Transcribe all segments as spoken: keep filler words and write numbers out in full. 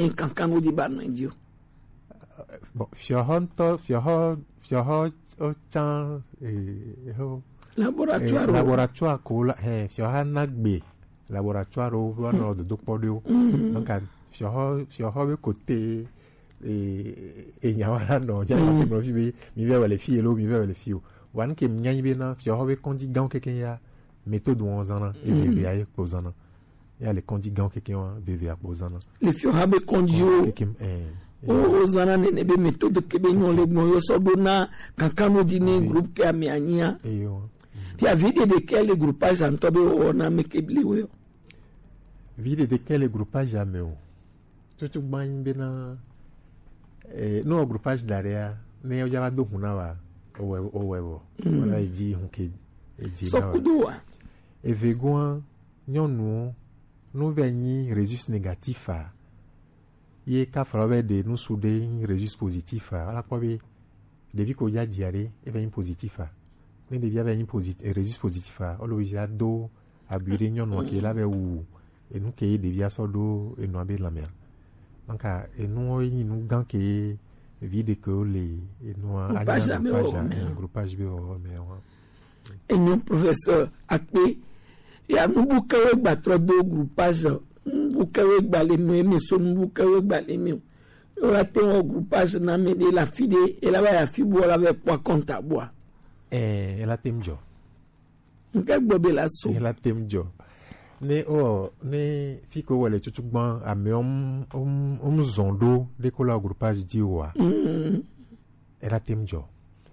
kankan no di ba no di o. Bon, fiɔhɔ ŋutɔ, fiɔhɔ, fiɔhɔ, o can, eh, ho, laboratoire, eh, laboratoire ko la, eh, fiɔha na gbe laboratoire wo va nɔ dodo kpɔ ɖo. Donc, fiɔhɔ, fiɔhɔ be kote, eh, eh, nya wa la nɔ, nya wa te nɔ fi be, mi vɛ wele fi lo, mi vɛ wele fi o. Wa nke mi nya nyi be na fiɔhɔ be kɔndi gan keke ya, méthode wo zana, e veve aye kpo zana. Ya le kɔndi gan keke wa, veve akpo zana. Le fiɔha be kɔndi o. Keke, eh, o, o zana nene be méthode ke be nyɔ le gbɔn yo sɔ ɖo na kankan no di ne groupe ke ame anyi a. Eyo. Puis à vie de, de quel groupage ŋutɔ be wɔna ame ke bli we o? Vie de, de quel groupage ame o? Tutu gban bena, eh, no groupage daria, ne ya va do huna wa, owe, owe wo. Wala edi hun ke, edi na wa. Sɔkudo wa. Evegoa, nyɔnu, no ve nyi resus négatif a. Ye ka fala ve de nusu de nyi resus positif a. Wala kpɔ be, ɖevi ko ya dia ɖe, e vɛ nyi positif a. Ne ɖevi a vɛ nyi posit-, eh, resus positif a, o le obligé ado abui ɖe nyɔnua ke la vɛ wu enu ke ɖevi a sɔ ɖo enua be lanmea. Donc, enu wo nyi nu gan ke vi ɖe ke wo le enua groupage anya, be groupage, wɔwɔ, eh, groupage be wɔwɔ me wa. Enyo professeur akpe. Ya nubu ke we gba trɔ do groupage. Nubu ke we gba le nu emi so nubu ke we gba le mi o. Yo la te wɔ groupage na mi de la fi de, e la va ya fi bo la ve kpɔ compte a bo a. Eh, e la te mi jɔ. Nke gbɔ be la so. E la te mi jɔ. Ne o, ne fi ko wele tutu gban, ame om, om, om zɔn ɖo de ko la groupage di wa. E la te mi jɔ.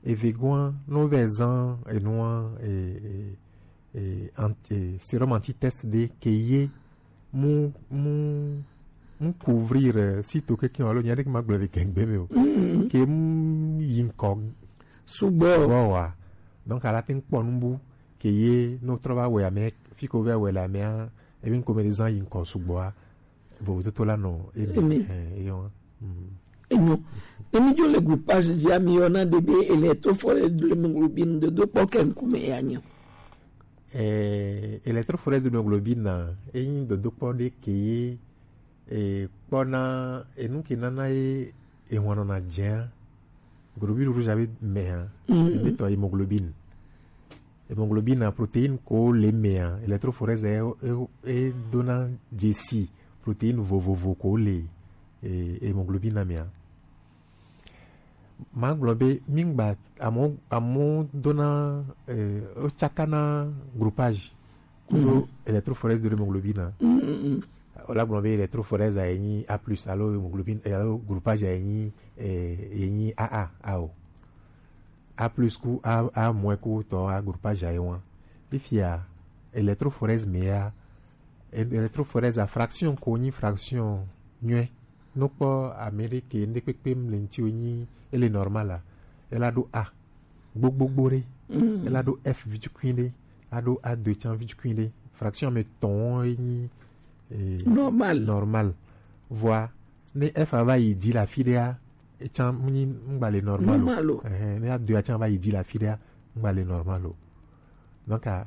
Evegoa, no ve zan enua, eh, eh, eh, ant-, eh, sérum anti-test de ke ye mu, mu, mu couvrir, eh, sito keke alo nya ɖe ke ma gblɔ le gɛngbe me o. Ke mu yi ŋkɔ sugbɔ wa. Donc, a la te ŋkpɔ nubu ke ye no trɔ va wɛ ame, fi ko vɛ wɛ le amea, ebi ŋkɔ me de zan yi ŋkɔ sugbɔ a. Vovototo la nɔ emi. Emi. Eh, eyo. Enyo. Ne mi dzo le groupage dzi a, mi yɔna ɖe be électrophorèse de l'hémoglobine, dodo kpɔ ke ŋkume ya nyo. Eh, électrophorèse de l'hémoglobine na, enyi dodo kpɔ ɖe ke ye, eh, kpɔna enu ke nana ye ehɔn nɔna dzea, globule rouge a be mea, ebe tɔ hémoglobine. Hémoglobine na protéine ko le mea, électrophorèse e, e, e dona dzesi protéine vovovo ko le, eh, hémoglobine na mea. Ma gblɔ be mi ŋgba amo, amo dona, eh, o tsaka na groupage kudo électrophorèse de l'hémoglobine na. O la gblɔ be électrophorèse a ye nyi A plus alo hémoglobine, eh, alo groupage a ye nyi, eh, ye nyi A A, a o. A plus ku A, A moins ku tɔ a groupage a ye wa. Fifia électrophorèse mea, é-, électrophorèse a fraction ko nyi fraction nyuie. No kpɔ Amérique, ŋɖe kpekpe mle ŋti wo nyi, ele normal a. Ela ɖo A gbogbogbo ɖe. Ela ɖo F vitukui ɖe. A ɖo A deux tsan vitukui ɖe. Fraction me tɔn wo nyi, eh, normal. Normal. Vɔa, ne F a va yi di la fi ɖea, etsan mu nyi ŋgba le normal o. Normal o. Ɛhɛn, ne A deux a tsan va yi di la fi ɖea, ŋgba le normal o. Donc, a,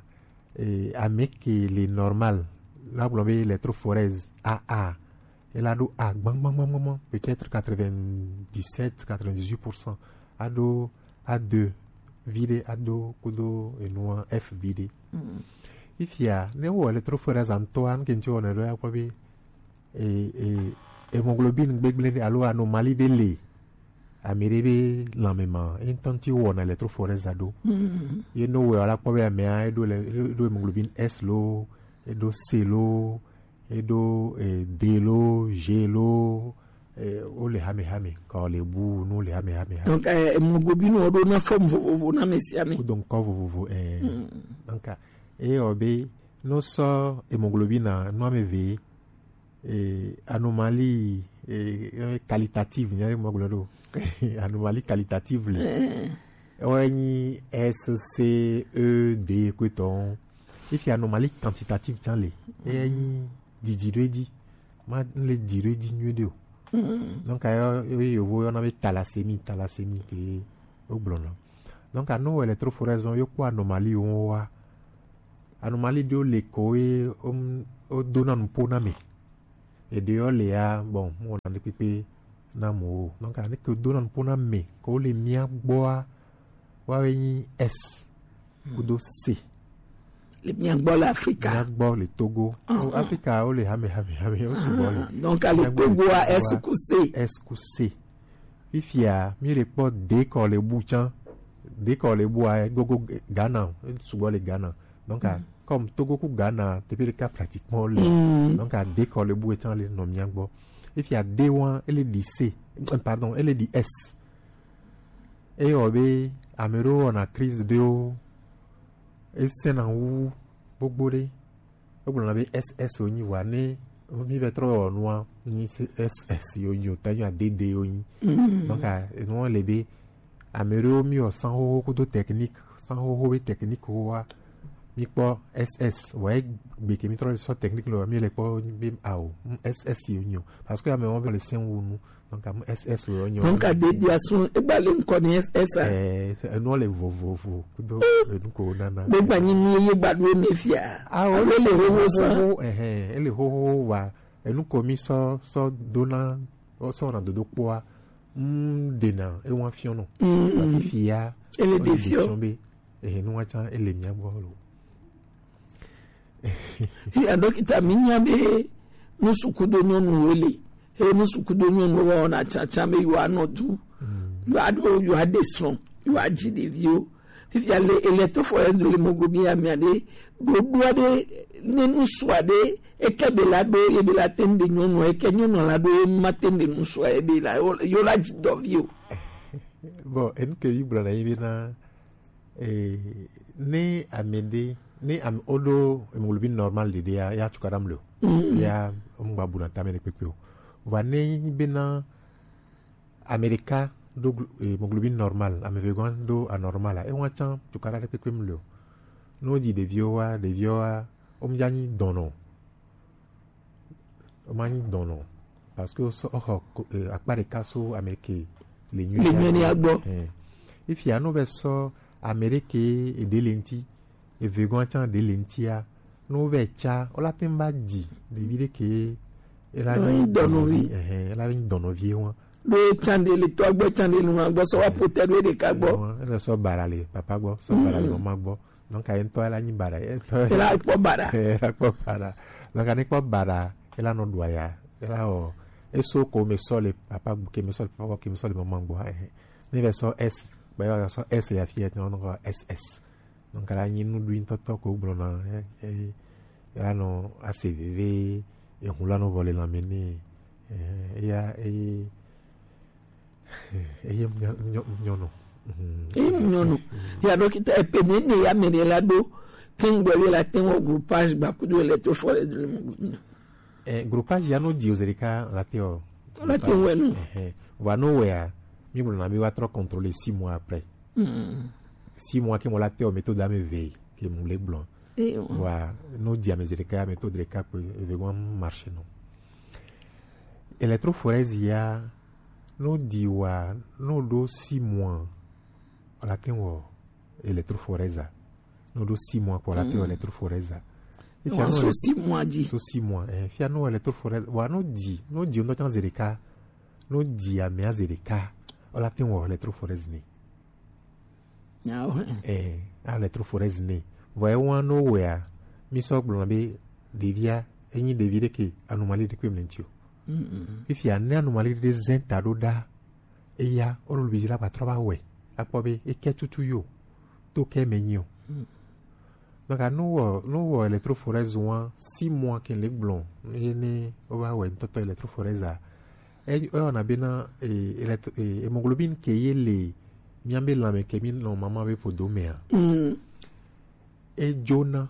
eh, ame ke le normal, la gblɔ be électrophorèse A A, ela ɖo A gbãgbãgbãgbã, peut-être quatre-vingt-dix-sept, quatre-vingt-dix-huit pour cent. A ɖo A deux viɖe, a ɖo kudo enua F viɖe. Fifia, ne wo électrophorèse ŋtɔa, nu ke ŋti wɔna ɖo ya kpɔ be, e, e, hémoglobine gbegblẽ ɖe alo anomalie ɖe le ame ɖe be lãme ma, ye ŋtɔ ŋti wɔna électrophorèse a ɖo. Ye no wɛ wala kpɔ be amea, eɖo le, eɖo hémoglobine S lo, eɖo C lo, eɖo, eh, D lo, G lo, eh, wo le hamehame, ka wo le bu nu le hamehame. Donc, eh, hémoglobine wo ɖo na forme vovovo na ame sia ame. Kudo ŋkɔ vovovo, eh. Donc, eh, o be, no sɔ hémoglobine a, nu ame ve, eh, anomalie, eh, eh, qualitative, nya ma gblɔ ɖo. Anomalie qualitative le. Eh. Wo nyi S, C, E, D kpetɔ. Fifia anomalie quantitative tsan le. E nyi didi ɖo edzi. Ma le di ɖo edzi nyuie ɖe o. Donc, yo, yo, yovo yɔna be thalassémie, thalassémie ke wo gblɔna. Donc, anu électrophorèse yo kpɔ anomalie wo wa. Anomalie ɖewo le ko ye, um, wo dona nupo na me. Eɖe yɔ le ya, bon, mo na ɖe kpekpe na mo o. Donc, ne ke do na nupo na me, ko le mia gbɔ a, wa we nyi S kudo C. Le mia gbɔ le Afrika. Mia gbɔ le Togo. Ah, o Afrika, o le hame, hame, hame, o sugbɔ le. Ah, donc, ale Togo a, S ku C. S ku C. Fifia, mi le kpɔ dekɔ le bu can. Dekɔ le bu a, gogo Ghana, sugbɔ le Ghana. Donc, comme Togo ku Ghana, teƒe ɖeka pratiquement le. Donc, dekɔ le bu can le nɔ mia gbɔ. Fifia, D wa, ele di C. Pardon, ele di S. Eye wɔ be ame ɖewo wɔna crise ɖewo, esẽna wu gbogbo ɖe. Wogblɔna be S S wonyi, vɔa ne mi va trɔ wɔ nua, nyi S S wonyi o, ta nyi adede wonyi. Donc, enua le be ame ɖewo mi wɔ sanxoxo kudo technique, sanxoxo be technique woa, mi kpɔ S S, vɔa egbe ke mi trɔ sɔ technique lɔ, mi le kpɔ be ao, S S wonyi o. Parce que ame wɔn be le sẽn wu nu. Donc, amu S S wo nyɔ. Donc, ade dia sun, egba le ŋkɔ ni S S a. Eh, enu le vovovo kudo enu ko nana. Be gba nyi mi ye gba do ne fia. Ah, o le hoho san. Eh, eh, ele hoho wa. Enu ko mi sɔ, sɔ dona, o sɔ na dodo kpoa. Mm, dena, e wa fiɔnɔ. Mm. Fifia. Ele de fiɔ. Be, eh, nu wa can, ele mia gbɔ lo. Ya dɔkita, mi nya be nusu kudo nyɔnuwo le. He nusu kudo nyɔnuwo wɔna tsatsa be yewoanɔ du. Yewoaɖo, yewoaɖe srɔ̃, yewoadzi ɖeviwo. Fifia le, ele to fɔ edu le mogobi ya mia ɖe. Ɖoɖo aɖe, ne nusu aɖe, eke be la ɖo, ye be la te ŋɖe nyɔnua, eke nyɔnua la ɖo, ye ma te ŋɖe nusua, ye be la, yo la dzi dɔvi o. Bon, enu ke mi gblɔ na yi be na, Eh, ne ame ɖe, ne ame, woɖo hemoglobine normal ɖeɖea, ya tukaɖa mle o. Ya mgba buna tame ɖe kpekpe o. Vɔa ne nyi bena ame ɖeka ɖo glo-, eh, hemoglobine normal, ame eve gɔ̃ ɖo anormal a, ewa tsã tukaɖa ɖe kpekpe mle o. Ne wodzi ɖeviwo wa, ɖeviwo wa, womdza nyi dɔnɔ o. Woma nyi dɔnɔ. Parce que so, oxɔ ko-, eh, akpa ɖeka so ame ke le nyuie. Le nyuie ya gbɔ. Eh. Ifia no vɛ sɔ ame ɖe ke eɖe le ŋti, eve gɔ̃ tsã ɖe le ŋtia, no vɛ tsa, wola te ŋu va dzi ɖevi ɖe ke ela nyi dɔnɔvi. Ɛhɛn, ela nyi dɔnɔvi wa. Ɖo tsã ɖe le tɔ gbɔ, tsã ɖe le ma gbɔ, sɔ wa ƒo te ɖo ɖeka gbɔ. Ele sɔ bara le papa gbɔ, sɔ bara le mama gbɔ. Donc, aye ŋutɔ ela nyi baɖa, ye ŋutɔ ela kpɔ baɖa. Ela kpɔ baɖa. Donc, ne kpɔ baɖa, ela nɔ ɖu aya, ela wɔ, eso ko me sɔ le papa gbɔ, ke me sɔ le papa gbɔ, ke me sɔ le mama gbɔ, eh. Ne va sɔ S, ba va sɔ S ya fia, nɔ nɔ S S. Donc, ela nyi nuɖui ŋutɔtɔ ko gblɔ na, eh, eh, ela nɔ ase veve, ehun la nɔ vɔ le lãme nɛ, eh, eya, eh, Eye nyɔnu. Eye nyɔnu. Ya dɔkita, epe nene ya mene la do. Kengbe le la te wɔ groupage gba kudo electrophorèse le mo. Eh, groupage ya no di ozerika la te o. La te wɔ no. Eh, eh. Va no wɛ ya, mi blo na mi wa trɔ contrôler six mois après. Six mois ke mo la te o méthode ame ve ke mo le gblɔ. Wa no di ame zerika, méthode ɖeka kpe, eve gɔ̃ marche no. Electrophorèse ya, no di wa, no ɖo six mois, la ke wɔ electrophorèse a. No ɖo six mois kpɔ la ke wɔ electrophorèse a. Wa so six mois di. So six mois, eh, fia no electrophorèse, wa no di, no di no tsã zerika, no di amea zerika, la ke wɔ electrophorèse ne. Eh, electrophorèse ne. Vɔ ewa no wɛa, mi sɔ gblɔ be ɖevia, enyi ɖevi ɖe ke anomalie ɖe kpe mle ŋti o. Fifia ne anomalie ɖe zɛn ta ɖo ɖa, eya, o lo bi la ba trɔ ba wɛ, akpɔ be eke tutu yo, to ke me nyi o. Donc, no wɔ, no wɔ electrophorèse wa, six mois ke le gblɔ, ye ne o ba wɛ ŋutɔtɔ electrophorèse a, e, e wɔna bena, e, elect-, e, hémoglobine ke ye le mia be lãme ke mi nɔ mama be ƒodo mea. E dzona.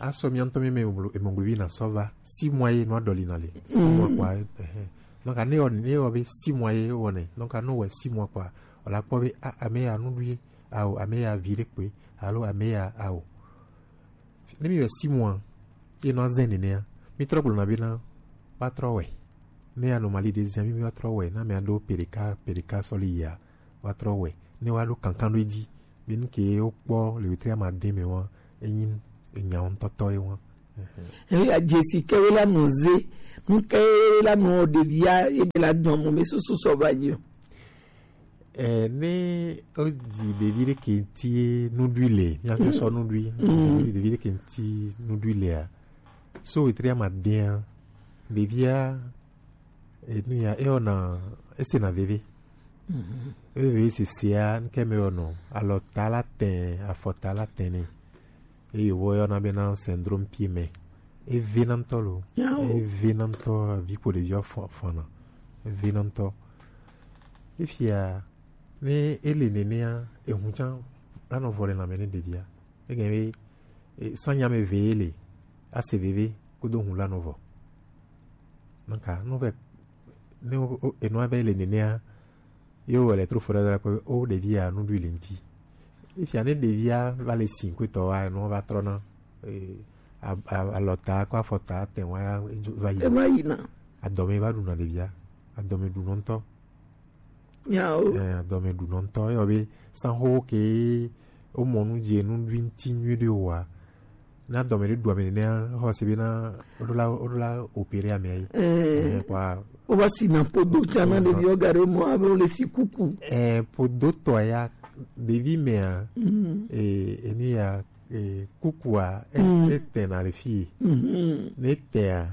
Asɔ mia ŋutɔ mi me hémoglo-, hémoglobine asɔ va. Six mois ye nua ɖɔli na le. Six mois kpɔa, ɛhɛn. Donc, ne wɔ, ne wɔ be six mois ye wɔnɛ. Donc, no wɛ six mois kpɔa, o la kpɔ be, a, ame ya nuɖu ye, ao, ame ya vi ɖe kpe, alo ame ya, ao. Ne mi wɛ six mois, ye nɔ azɛ nenea, mi trɔ gblɔ na be na, wa trɔ wɛ. Ne anomalie ɖe zia, mi, mi wa trɔ wɛ, na mi aɖo ƒe ɖeka, ƒe ɖeka sɔ li yia, wa trɔ wɛ. Ne wa ɖo kankan ɖo edzi, be nu ke wo kpɔ le wetri ama de me wa, enyi enya ŋutɔtɔ ye wa. Eya jesi ke we la nɔ ze, nu ke la nɔ ɖevia ebe la dɔn mo me susu sɔ va nyi o. Eh, ne o di ɖevi ɖe ke ŋti nuɖui le, mía fi sɔ nuɖui, ɖevi ɖe ke ŋti nuɖui lea, so wetri ama dea, ɖevia, enu ya, eyɔna, esena veve. Veve sesea, nu ke me yɔnɔ, alɔta la tɛ, afɔta la tɛ nɛ. Eye woyɔna bena syndrome pied main. Evena ŋutɔ lo. Yawo. Evena ŋutɔ, vi ko ɖevia fɔ-, fɔna. Evena ŋutɔ. Efia, ne ele nenea, ehu tsã anɔ vɔ le lãme ne ɖevia. Eganye be, e, sanya me ve ele, ase veve, kudo hu la nɔ vɔ. Naka, no ve, ne o, o, enua be le nenea, yo wɔ le tro fɔ ɖe la kpɔ, o ɖevia nuɖui le ŋti. Efia ne ɖevia va le si kpetɔ wa, enua va trɔna, e, a, a, alɔta, kɔ afɔta, tɛ wa, edzo va yi. Ema yina. Adɔme va ɖuna ɖevia. Adɔme ɖunɔ ŋutɔ. Yawo. Eh, adɔme ɖunɔ ŋutɔ. Eyɔ be sanho ke womɔ nu dze nuɖui ŋti nyui ɖe oa. Na adɔme ɖe ɖu ame nenea, xɔ se be na woɖo la, woɖo la opérer amea yi. Eh. Eh, kɔa. Wo va si na podo tsã na ɖeviwo ga ɖe mɔ abe wo le si kuku. Eh, podo tɔ ya, ɖevi mea, eh, enu ya, eh, kukua, e, etɛna le fi. Ne etɛa,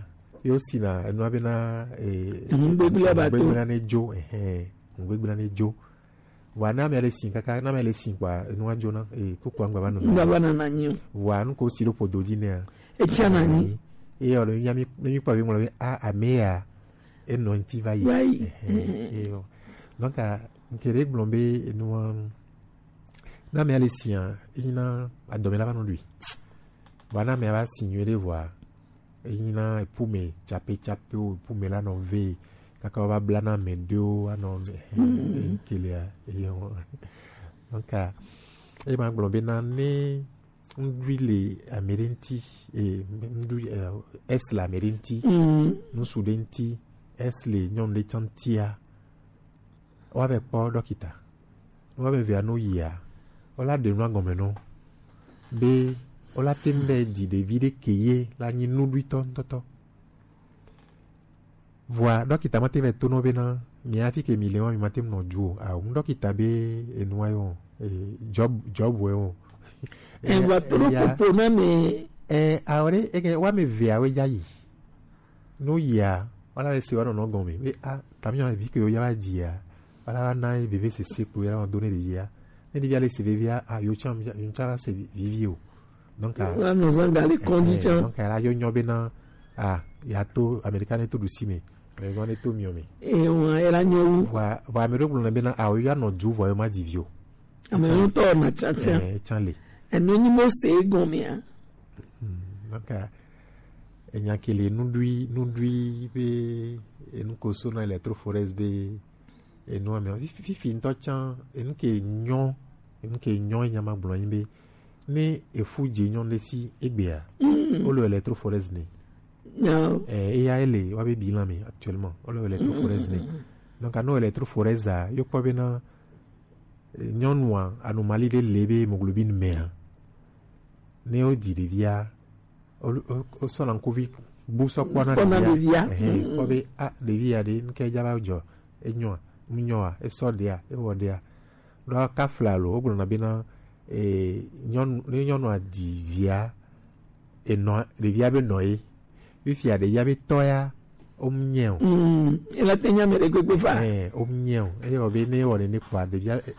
yo sina enua bena, eh, ŋugbegblẽ ba to. Ŋugbegblẽ ne dzo, ehɛn, ŋugbegblẽ ne dzo. Vɔa, ne ame le si kaka, ne ame le si kpɔa, enua dzona, eh, kukua ŋgba va nɔ. Ŋgba va nana nyi o. Vɔa, nu ko si ɖo ƒodo dzi nɛa. Etsia na nyi. Eye wòle mía mi, ne mi kpɔ be ŋlɔ be, a, ame ya, enɔ ŋti va yi. Va yi. Ehɛn, eyɔ. Donc, a, nke ɖe gblɔ be enua, ne ame le sia, enyina adɔme la va nɔ ɖui. Vɔa, ne ame va si nyuie ɖe vɔa, enyina epume tsape tsape o, epume la nɔ ve, kaka wova bla na ame ɖewo anɔ, ehɛn, eyi ke lia, eyɔ. Donc, a, eye ma gblɔ be na ne nuɖui le ame ɖe ŋti, eh, nuɖui, eh, S le ame ɖe ŋti, nusu ɖe ŋti, S le nyɔnu ɖe tsã ŋtia, woava kpɔ ɖɔkita. Ne woame evea no yia, wola ɖe nua gɔme nɔ be wola te ŋu ɖe dzi ɖevi ɖe ke ye la nyi nuɖuitɔ ŋutɔtɔ. Vɔa, ɖɔkita ma te va to nɔ bena, mi hafi ke mi le wa, mi ma te ŋu nɔ dzu o. Ao, ŋu ɖɔkita be enua yɔ, eh, job, job wɛ o. Eh, vɔa to ɖo popo na mi. Eh, ao ɖe, ege, woame evea we dza yi. No yia, wala le se wa nɔnɔ gɔme. Be, a, tami yɔ vi ke yo ya va dzi ya. Wala va na veve sese ko ya nɔ do ne ɖevia. Ne ɖevia le se vevia, a, yo tsã, yo tsã va se vi-, vivi o. Donc, a, wa nɔ zan ga le kɔndzi tsã. Donc, a, la yo nyɔ bena, a, ya to Amerika ne to ɖusi me. Amerika ne to miɔ me. E, wa, e la nyɔ wu. Wa, wa, ame ɖewo gblɔ na bena, a, o ya nɔ du vɔ, yo ma dzi vi o. Ame ɖewo tɔ na tsã tsã. Eh, tsã le. Enu nyi mo se gɔmea. Hmm, donc, a, enya ke le nuɖui, nuɖui be, enu ko so na Electrophorèse be, enu ame, fi-, fi-, fifi ŋutɔ tsã, enu ke nyɔ, enu ke nyɔ enya ma gblɔ nyi be, ne efu dze nyɔnu ɖe si egbea, wole Electrophorèse nɛ. Eh, eya ele, wa be bilan me actuellement, wole Electrophorèse nɛ. Donc, anɔ Electrophorèse a, yo kpɔ bena, eh, nyɔnua, anomalie ɖe le be hémoglobine mea, ne wodzi ɖevia, o, o, o sɔ lankuvi bu sɔ kpɔna ɖevia. Kpɔna ɖevia. Ehɛn, kpɔ be, a, ɖevi ya ɖe, nu ke dza va dzɔ, enyɔa, nu nyɔa, esɔ ɖea, ewɔ ɖea. Ɖo kafla lo, wogblɔna bena, eh, nyɔnu, ne nyɔnua dzi via, enɔ, ɖevia be nɔ ye. Fifia ɖevia be tɔ ya, wo mu nyɛ o. Mm, ela te nya me ɖe gbegbe va. Eh, wo mu nyɛ o. Eye wɔ be ne wɔ nene kpɔa, ɖevia, eh,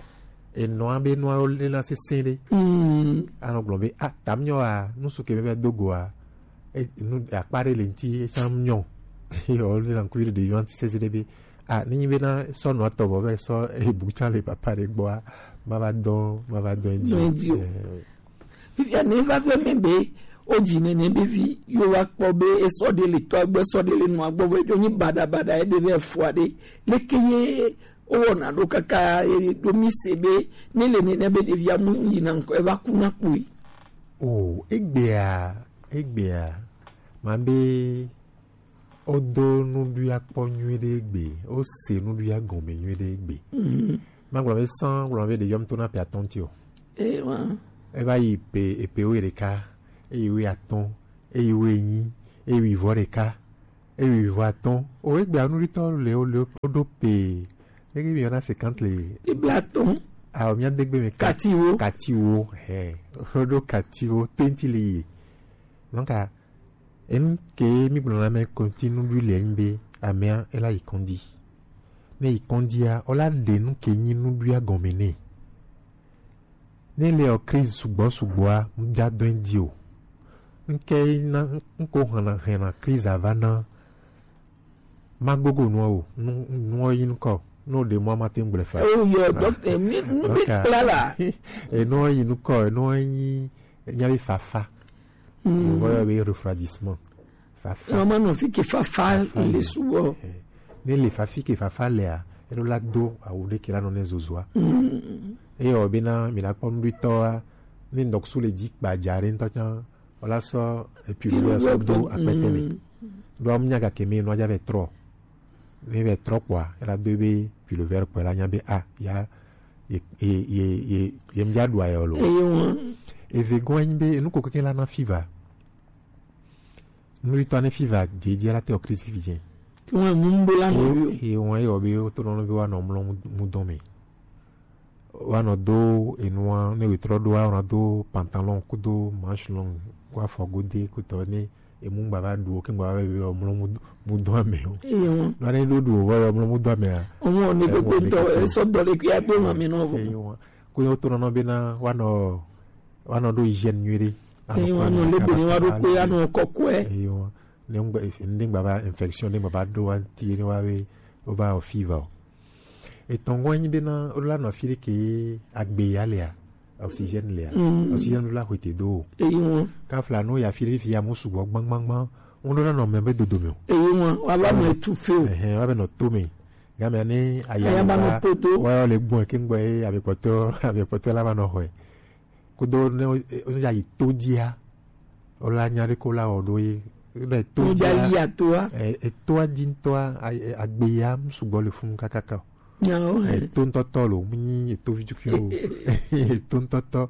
enɔa be nua wo le na sese ɖe. Mm. Anɔ gblɔ be, a, tam nyɔ a, nusu ke be do go a, e, nu, akpa ɖe le ŋti, e tsã mu nyɔ o. Eye wɔ le na ŋkuvi ɖe ɖevia ŋti sese ɖe be, a, ne nyi be na sɔ nɔ tɔ vɔ be sɔ, e, bu tsã le papa ɖe gbɔa, ma va dɔ, ma va dɔ edzi. Dɔ edzi o. Eh, Fifia ne va ƒe me be, o dzi nene be vi, yo wa kpɔ be esɔ ɖe le tɔ gbɔ, esɔ ɖe le nua gbɔ, vɔ edzo nyi baɖa baɖa, ebe be efua ɖe. Leke ye o wɔna ɖo kaka, e ɖo mi se be, ne le nene be ɖevia mu yina ŋkɔ, eva ku na kpoe. O, egbea, egbea, ma be, wodo nuɖuia kpɔ nyuiɖe egbe, wose nuɖuia gɔme nyuiɖe egbe. Mhm. Magblɔ be sã, gblɔ be ɖeviwo to na ƒe atɔ̃ ŋuti o. Eh, wa. Eva yi ƒe, ƒe wuiɖeka, eye wuiatɔ̃, Eyi wo enyi, eyi wo vɔ ɖeka, eyi wo vɔ atɔ̃. O egbe anu ɖitɔ le o le o ɖo pe. Ege mi yɔna cinquante le. Bibla atɔ̃. A o mia degbe me ka-, katiwo. Katiwo, he. O ɖo katiwo twenty le ye. Donc, a, enu ke mi gblɔ na me continue du le nyi be amea ela yi kɔndi. Ne yi kɔndia, o la ɖe nu ke nyi nuɖuɖua gɔme nɛ. Ne le ɔ crise sugbɔ sugbɔa, ŋdza dɔn di o. Ŋke na ŋko hana hena crise ava na ma gogo nua o, nu nua yi ŋkɔ, no de mo ma te ŋgble fa. O yo, donc, eh, mi, mi kpla la. E nua yi ŋkɔ, e nua yi nya be fafa. Ŋgɔ yɔ be refroidissement. Fafa. Ɔmɔ nɔ fi ke fafa le subɔ. Ne le fafi ke fafa lea, eno la do awu ɖe ke la nɔ ne zozua. Eye o bena mi la kpɔ nuɖitɔa, ne ŋdɔkusu le dzi kpadza ɖe ŋutɔ tsã, o la sɔ epi le sɔ do akpɛtɛ me. Ɖo amu nya gake me nɔ dza vɛ trɔ. Ne vɛ trɔ kpɔa, ela do be pullover kpɔ la nya be a ya ye ye ye ye ye ŋdza ɖu ayɔ lo. Eye wɔn. Eve gɔn anyi be enu ko keke la na fiva. Nuɖitɔ ne fiva dzedze la te o crise fifi dze. Tiwọn mu ŋdo la nɔ yo. Ye wọn ye o be o to nɔ be wa nɔ mlɔ mu dɔn me. Wa nɔ do enua ne we trɔ do wa nɔ do pantalon kudo manche long ko afɔ gode kutɔ ne emu ŋgba va ɖu o ke ŋgba va be o mlɔ mu dɔn me o. Eye wọn. Nɔ ne ɖo ɖu o va o mlɔ mu dɔn me a. Ɔmɔ ne gbogbo ŋutɔ esɔ dɔ le kuya do ma mi nɔ vɔ. Eye wọn. Ko ye o to nɔ be na wa nɔ wa nɔ ɖo hygiène nyui ɖe. Eye wọn nɔ le be ni wa ɖo ko ya nɔ kɔkɔe. Eye wọn. Ne ŋgba, ne ŋgba va infection, ne ŋgba va ɖo anti, ne wa be, o va o fiva o. Etɔngɔ anyi be na, o la nɔ fi ɖe ke agbe ya lea, oxygène lea. Oxygène la hwete do o. Eyi ŋu. Kafla no ya fi ɖe fi ya mu sugbɔ gbangbangban. Ŋu ɖo la nɔ mɛ be dodo me o. Eyi ŋu, wa va nɔ etu fe o. Ɛhɛn, wa be nɔ to me. Game ne aya ba nɔ to do. Wa le gbɔn ke ŋgbɔ ye, abe kpɔtɔ, abe kpɔtɔ la va nɔ hɔe. Kudo ne o, o ya yi to dia. O la nya ɖe ko la wɔ ɖo ye. Ne to dia. Etoa di ŋutɔa, agbe ya mu sugbɔ le funu kakaka o. Eto ŋutɔtɔ lo, mu nyi eto vitukui o. Eto ŋutɔtɔ.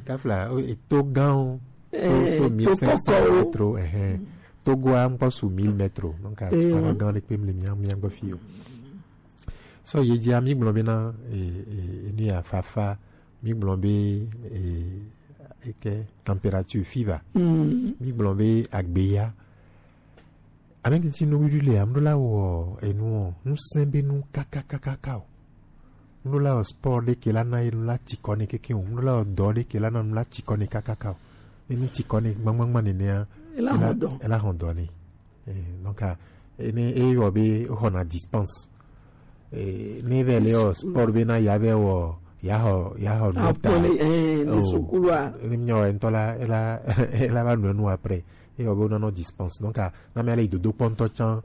Kafla, eto gã o. So, so mille cinq cents mètres, ɛhɛn. Togoa ŋkɔ su mille mètres. Donc, a, gã ɖe kpe mle mia, mia gbɔ fi o. So, ye dia mi gblɔ be na, e, e, e, nu ya fafa, mi gblɔ be, e, eke température, fiva. Mi gblɔ be agbeya. Ame titi no wiɖu le amɖo la wɔ enu o, nu sɛn be nu kakakakaka o. Mɖo la wɔ sport ɖe ke la na enu la tikɔ ne keke o. Mɖo la wɔ dɔ ɖe ke la na nu la tikɔ ne kakaka o. Ne nu tikɔ ne gbangbangban nenea, ela hɔn dɔ ne. Eh, donc, ah, eh, ne eyɔ be xɔna dispense. Eh, ne vɛ le wɔ sport be na ya vɛ wɔ, ya xɔ, ya xɔ nu ta. Apɔle, eh, ne sukulu a. Ne mia wɔ ŋutɔ la, ela, ela va nu enu après. Eyɔ be wonanɔ dispense. Donc, ah, na mia le yi dodo kpɔ ŋutɔ tsã.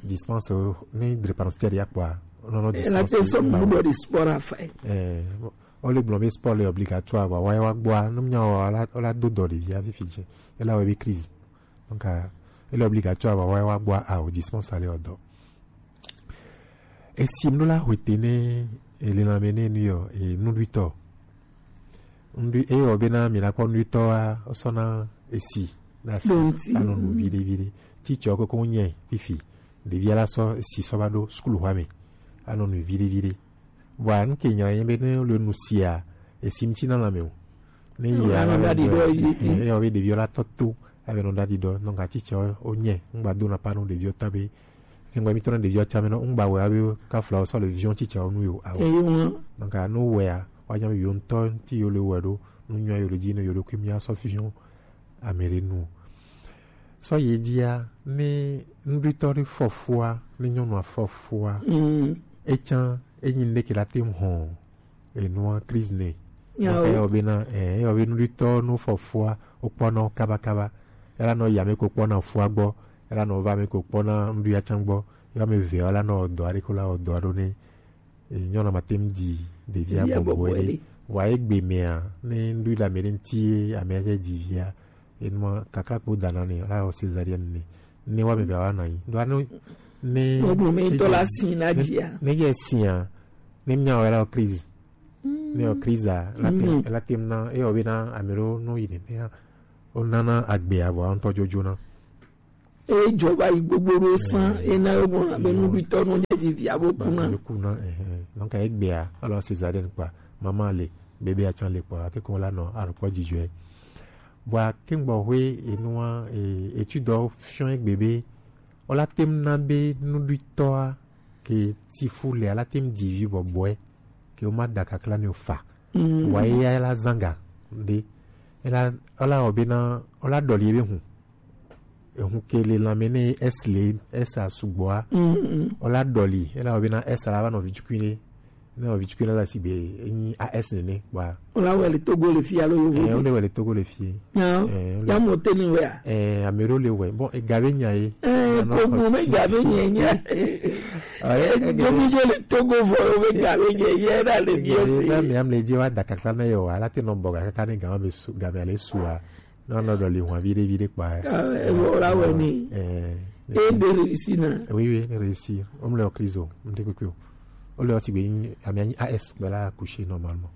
Dispense, ne drépanocytaire ya kpɔa, wonanɔ dispense. Ela te sɔ mu dɔ di sport a fa. Eh, o le gblɔ be sport le obligatoire, wa, wa, wa gbɔa, ne mia wɔ, ola, ola do dɔ ɖevia fifi dzi. Ela wɔ be crise. Donc, ah, ele obligatoire ba wa wa gbɔ a o dispense ale o dɔ. Esi mɖo la hwete ne ele na me ne nu yɔ, e nuɖuitɔ. Nuɖui, e yɔ be na mi na kpɔ nuɖuitɔ wa, o sɔ na esi, na si, anɔ nu viɖe viɖe. Titsɔ koko nyɛ, fifi. Ɖevia la sɔ esi sɔ va ɖo sukulu xɔ me. Anɔ nu viɖe viɖe. Vɔa, nu ke nyla nye be ne le nu sia, esi ŋuti na lãme o. Ne yi anɔ ɖaɖi ɖɔ yi ti. Eyɔ be ɖeviwo la tɔ to, abe nɔ ɖaɖi ɖɔ, nɔ ga tsitsa wo nye, ŋgba do na pa nu ɖeviwo ta be, ke ŋgba mi tɔ na ɖeviwo tsa me nɔ, ŋgba wɛ abe kafla wo sɔ le viwo tsitsa wo nu yo, awo. Eyi ŋu. Nɔ ga nu wɛa, wa nya be yo ŋutɔ ŋuti yo le wɛ ɖo, nu nyɔ yo le dzi ne yo ɖokui mia sɔ fi yo. Ame ɖe nu. Sɔ yi dzia, ne nuɖuitɔ ɖe fɔ fua, ne nyɔnua fɔ fua, etsã, enyi nuɖe ke la te ŋu hɔn enua crise nɛ. Eyɔ bena, eh, eyɔ be nuɖuitɔ no fɔ fua, wokpɔna wo kaba kaba. Ela nɔ yi ame ko kpɔna fua gbɔ, ela nɔ va ame ko kpɔna nuɖuia tsã gbɔ. Yɔ ame eve ela nɔ dɔ aɖe ko la wɔ dɔ aɖo nɛ. E, nyɔnu ma te ŋu ɖi ɖevia bɔbɔe ɖe. Vɔa egbe mea, ne ŋɖo le ame ɖe ŋuti ye amea tsɛ ɖi via, enua kakla kpo dana nɛ, la wɔ césarienne nɛ. Ne wa me va wa nɔ anyi. Ɖo ne, ne, ne, ne, ne yɛ sia, ne mia wɔ la wɔ crise. Ne wɔ crise a, la te, la te ŋu na, eyɔ be na ame ɖewo nɔ yi nenea. Wonana agbea vɔ ŋutɔ dzodzoena. Ejɔ va yi gbogbo ɖo sã, ena yo gbɔna be nuɖuitɔ nɔ dze ɖevia bo kuna. Ba, yo kuna, eh, eh. Donc, egbea, alors césarienne kpa, maman le, bébé atsan le kpa, ke ko la nɔ, alors kpɔ dzidzɔe. Vɔa, ke ŋgbɔ hwe, enua, eh, étude fiɔ egbe be, o la tem na be nuɖuitɔa, ke tifu le, ala tem dzivi bɔbɔe, ke o ma da kakla ni o fa. Mm. Wa eya la zanga, de. Ela, ela o be na, o la dɔli ebe hun. Ehun ke le lanmɛ ne S le, S a sugbɔa. Mm, mm. O la dɔli, ela o be na S a la va nɔ vi tsukui ne. Ne nɔ vi tsukui ne la si be, enyi A S nene, wa. O la wɛ le Togo le fi alo yovo. Eh, o le wɛ le Togo le fi. Ya, eh, o le ya mo te ni wɛ a. Eh, amero le wɛ. Bon, e gabe nya ye. Eh, ko mo me gabe nya nya. Eh, eh, eh, gomi je le Togo vɔ, o be gabe nya ye, na le bi o se. Na mi am le je wa da kakla na yo, ala te nɔ bɔ ga kaka ne gama be su, gama le su a. Non, non, non, le hwa vide, vide, quoi. Ah, eh, voilà, ouais, mais. Eh, eh, de réussir, non. Oui, oui, réussir. On le crise, on te coupé. On le ti bien, ami, ami, A S, voilà, accouché normalement.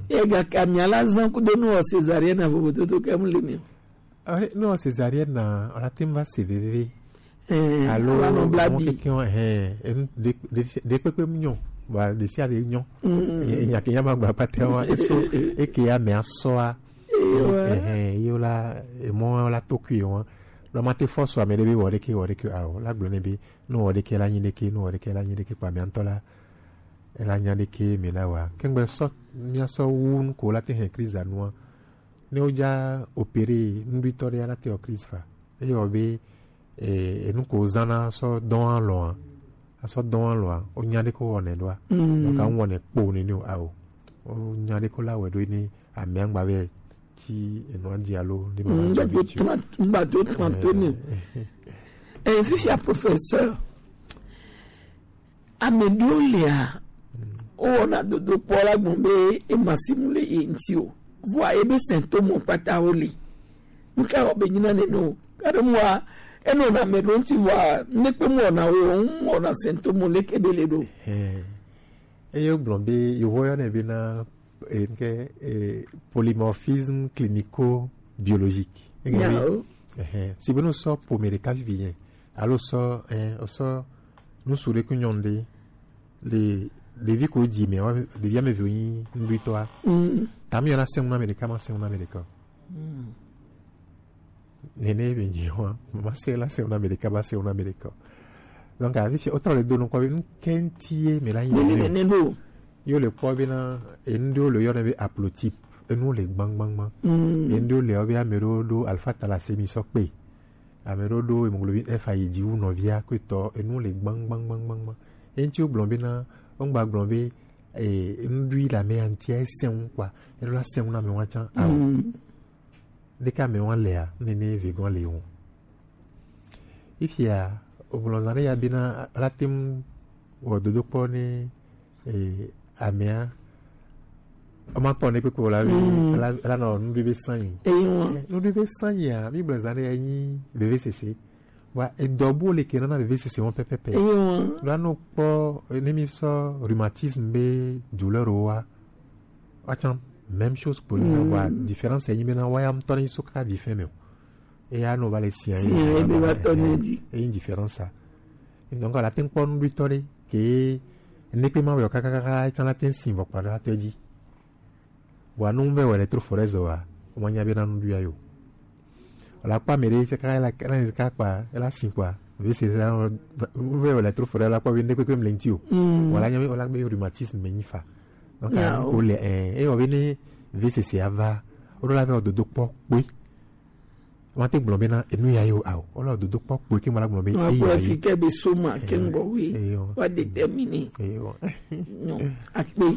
E ga ka mi ala zan ku de no césarienne na vovo toto kam le mi. Ah, non, césarienne na, on a tem va C V V. Eh, alo, ala no blabi. Mo ke ki on, eh, em, de, de, de pepe mi nyon. Voilà, de si a de nyon. Mm. E, e nya ke nya ma gba pa te wa, e so, e ke ya me aso a. Ewa. Eh, eh, yo la, e mo la to kui wa. Lo ma te force wa me de bi wo de ke, wo de ke, a, o la gblɔ ne bi, no wo de ke la nyi de ke, no wo de ke la nyi de ke, pa mi antɔ la. E la nya de ke mi la wa. Kengbe sɔ, mi a sɔ wu nu ko la te hɛn crise a nua. Ne o ja opérer, nuɖuitɔ ɖe ala te o crise fa. Eye o be, eh, enu ko zana sɔ dɔn alɔa. Asɔ dɔn alɔa. O nya de ko wɔnɛ ɖoa. Mm. Donc, a wɔnɛ kpo ni ni o, a o. O nya de ko la wɛ ɖo ni amɛ angba vɛ ti enu a di alo ni ba. Mm, ma do tran-, ba do tran to ni. Eh. Eh, fifia professeur. Ame ɖewo lia, wowɔna dodokpɔ la gbɔn be ema si mu le ye ŋuti o. Vɔa ebe symptôme kpata wo li. Nuka wɔ be nyina nene o? Kaɖe mua, enɔna ame ɖewo ŋuti vɔa, ne kpe mu wɔna wo, mu wɔna symptôme leke be le ɖo. Hɛn. Eye wogblɔ be, yewo yɔnɛ bena, eh, nke, eh, polymorphisme clinico-biologique. Enya be, o. Ɛhɛn. Si be no sɔ ƒome ɖeka vivi yɛ. Alo sɔ, eh, sɔ ŋutsu ɖe kple nyɔnu ɖe le ɖevi ko dzi me, wa, ɖevi ame eve wonyi nuɖuitɔa. Mm. Ta mi yɔna sɛŋ na ame ɖeka, ma sɛŋ na ame ɖeka. Mm. Nene be nyi wa, ma sɛŋ la sɛŋ na ame ɖeka, ma sɛŋ na ame ɖeka. Donc, afi fia, wotrɔ le do nukɔ be nu kɛnti ye me la nyi nene. Nene ɖo. Yo le kpɔ bena, enu ɖewo le yɔna be haplotype, enu le gbaŋgbaŋgbaŋ. Mm. Enu ɖewo le yɔ be ame ɖewo ɖo alpha thalassémie sɔ kpe. Ame ɖewo ɖo hémoglobine F ayi dzi wu nɔvia ko etɔ, enu le gbaŋgbaŋgbaŋgbaŋ. Eŋuti wogblɔ bena, wogba gblɔ be, eh, nuɖui le ame ya ŋutia esɛŋ kpɔa, eɖo la sɛŋ na ame wa tsã. Ao. Mm. Ɖeka ame wa lea, nene vegɔn le wo. Ifia, wogblɔ zã ɖe ya bena, la te ŋu wɔ dodokpɔ ne, eh, amea, woma kpɔ ne kpekpe o la be, mm, la, la nɔ nuɖui be sanyi. Eyi wa. Eh, nuɖui be sanyi ya, mi gblɔ zã ɖe ya nyi vevesese. Wa edɔ bu le ke nana vevesese wɔn pɛpɛpɛ. Eyi wa. La nɔ kpɔ, eh, ne mi sɔ rhumatisme be douleur o wa. Wa tsã, même chose kpo nyi, mm, wa différence ya nyi bena wa ya ŋutɔ ne nyi so kaka vi fɛn me o. Eya no va le sia. Sia ye be va tɔ ne dzi. Eyi différence sa. Donc, la te ŋu kpɔ nuɖuitɔ ɖe ke ne kpe ma wɔ kakakaka tsã la te ŋu si vɔ kpa ɖe la te dzi. Vɔa nu vɛ wɔ le tro forɛzɔ wa, o ma nya be na nuɖuia yo. O la kpɔ ame ɖe kaka la, la, la kpa, la si kpa. Vevesese la, nu vɛ wɔ le tro forɛzɔ la kpɔ be ne kpekpe mle ŋuti o. Mm. Vɔa la nya be, o la be rhumatisme me nyi fa. Donc, ya, o le, eh, e wɔ be ne vevesese ava, o ɖo la vɛ wɔ dodokpɔ kpoe. Wa te gblɔ bena enu ya yo ao. Wole dodokpɔ kpoe ke mala gblɔ be eya ye. Fi ke be soma ke ŋgɔ we. Eyo. Wa déterminer. Eyo. Non, akpe.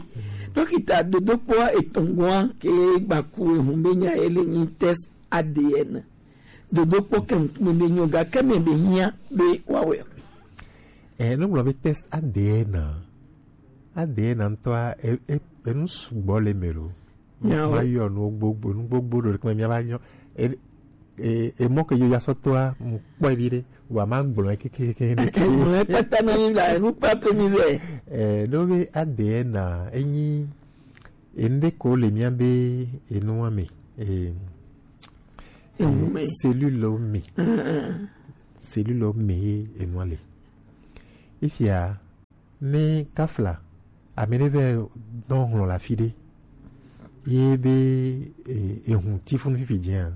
Dɔkita, dodokpɔ etɔngɔa ke gbaku ehun be nya ele nyi test A D N. Dodokpɔ ke ŋkume be nyo ga ke me be hiã be wa wɛ. Eh, no gblɔ be test A D N. A D N ŋutɔa, e, e, enu sugbɔ le me lo. Nyawo. Ma yɔ nu gbogbo, nu gbogbo ɖo ɖe kple mía va nyɔ. E, e, e mɔ ke yo ya sɔ toa, mu kpɔe vi ɖe, wa ma gblɔe kekeke ɖe. Gblɔe kpata na mi la, enu kpata mi vɛ. Eh, ɖo be A D N na, enyi, enu ɖe ko le mía be, enua me. Eh, Ehume. Cellule mi. Cellule mi ye enua le. Ifia ne kafla ame ɖe vɛ dɔn hlɔn la fi ɖe ye be ehun ti funu fifi jɛa.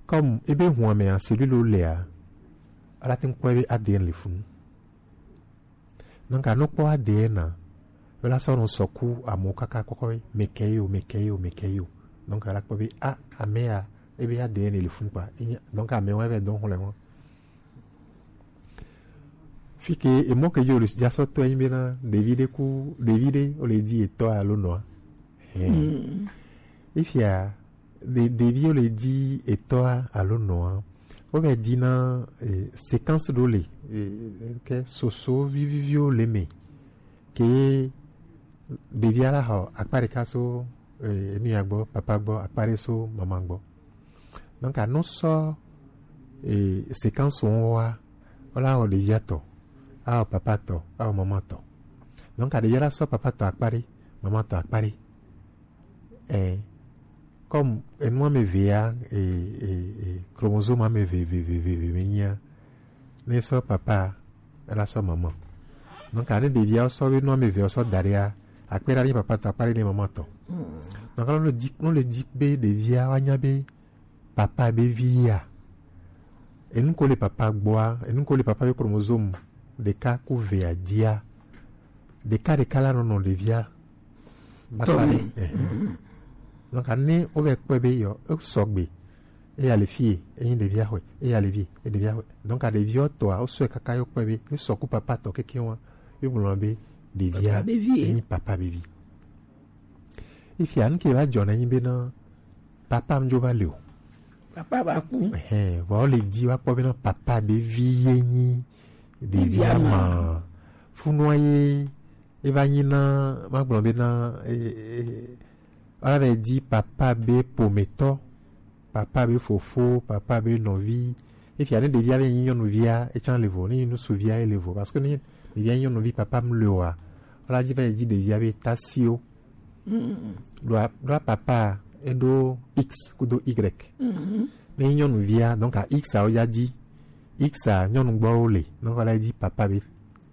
Comme ebe hun ame a cellule lea, ala te ŋkpɔ be A D N le funu. Donc a nɔ kpɔ A D N a, ela sɔ nɔ sɔku amewo kaka kpɔkpɔ be mekɛ yo, mekɛ yo, mekɛ yo. Donc ala kpɔ be a ame a ebe A D N le funu kpa. Donc ame wa vɛ dɔn hlɔn. Fi ke emɔ ke yo le ja sɔ tɔ yin be na ɖevi ɖe ku ɖevi ɖe o le di etɔ alo nɔa. Ifia ɖe ɖevi o le di etɔa alo nɔa, o vɛ di na séquence ɖo le ke soso viviviwo le me ke ɖevi ala xɔ akpa ɖeka so enu ya gbɔ papa gbɔ akpa ɖe so mama gbɔ. Donc a nɔ sɔ séquence wo wa, o la xɔ ɖevia tɔ, a xɔ papa tɔ, a xɔ mama tɔ. Donc a ɖevia la sɔ papa tɔ akpa ɖe, mama tɔ akpa ɖe. Ɛ, comme enu ame eve ya, e, e, e, chromosome ame eve, eve, eve, eve, eve me nyia, ne sɔ papa, ela sɔ mama. Donc a ne ɖevia sɔ be nu ame eve sɔ da ɖea, akpe ɖa ne papa tɔ, akpa ɖe ne mama tɔ. Donc ne le di, ne le di be ɖevia wa nya be papa be vi ya. Enu ko le papa gbɔa, enu ko le papa be chromosome ɖeka ku evea dia. Ɖeka ɖeka la nɔnɔ ɖevia. Tɔme. Donc ne o vɛ kpɔe be yɔ, o sɔgbe. Eya le fie, eyin ɖevia xɔe, eya le vie, e ɖevia xɔe. Donc a ɖevia tɔa, o sɔe kaka yɔ kpɔe be, e sɔku papa tɔ keke wa, e gblɔ be ɖevia, papa be vie. Eyin papa be vi. Ifia nu ke va jɔ na yin be na papa mjo va le o. Papa va ku. Ɛhɛn, vɔ le di wa kpɔ be na papa be vi ye nyi ɖevia ma. Funua ye e va nyi na ma gblɔ be na e, e, ala vɛ di papa be pometɔ, papa be fofo, papa be nɔvi. Efia ne ɖevia be nyi nyɔnuvia, e can le vo, ne nyi nusuvia e le vo. Parce que ne ɖevia nyi nyɔnuvi papa mu le wa, ala di va yi di ɖevia be tasio. Ɖoa, ɖoa papa e ɖo X kudo Y. Ne nyi nyɔnuvia, donc a X a o ya di. X a nyɔnu gbɔ wo le, donc ala di papa be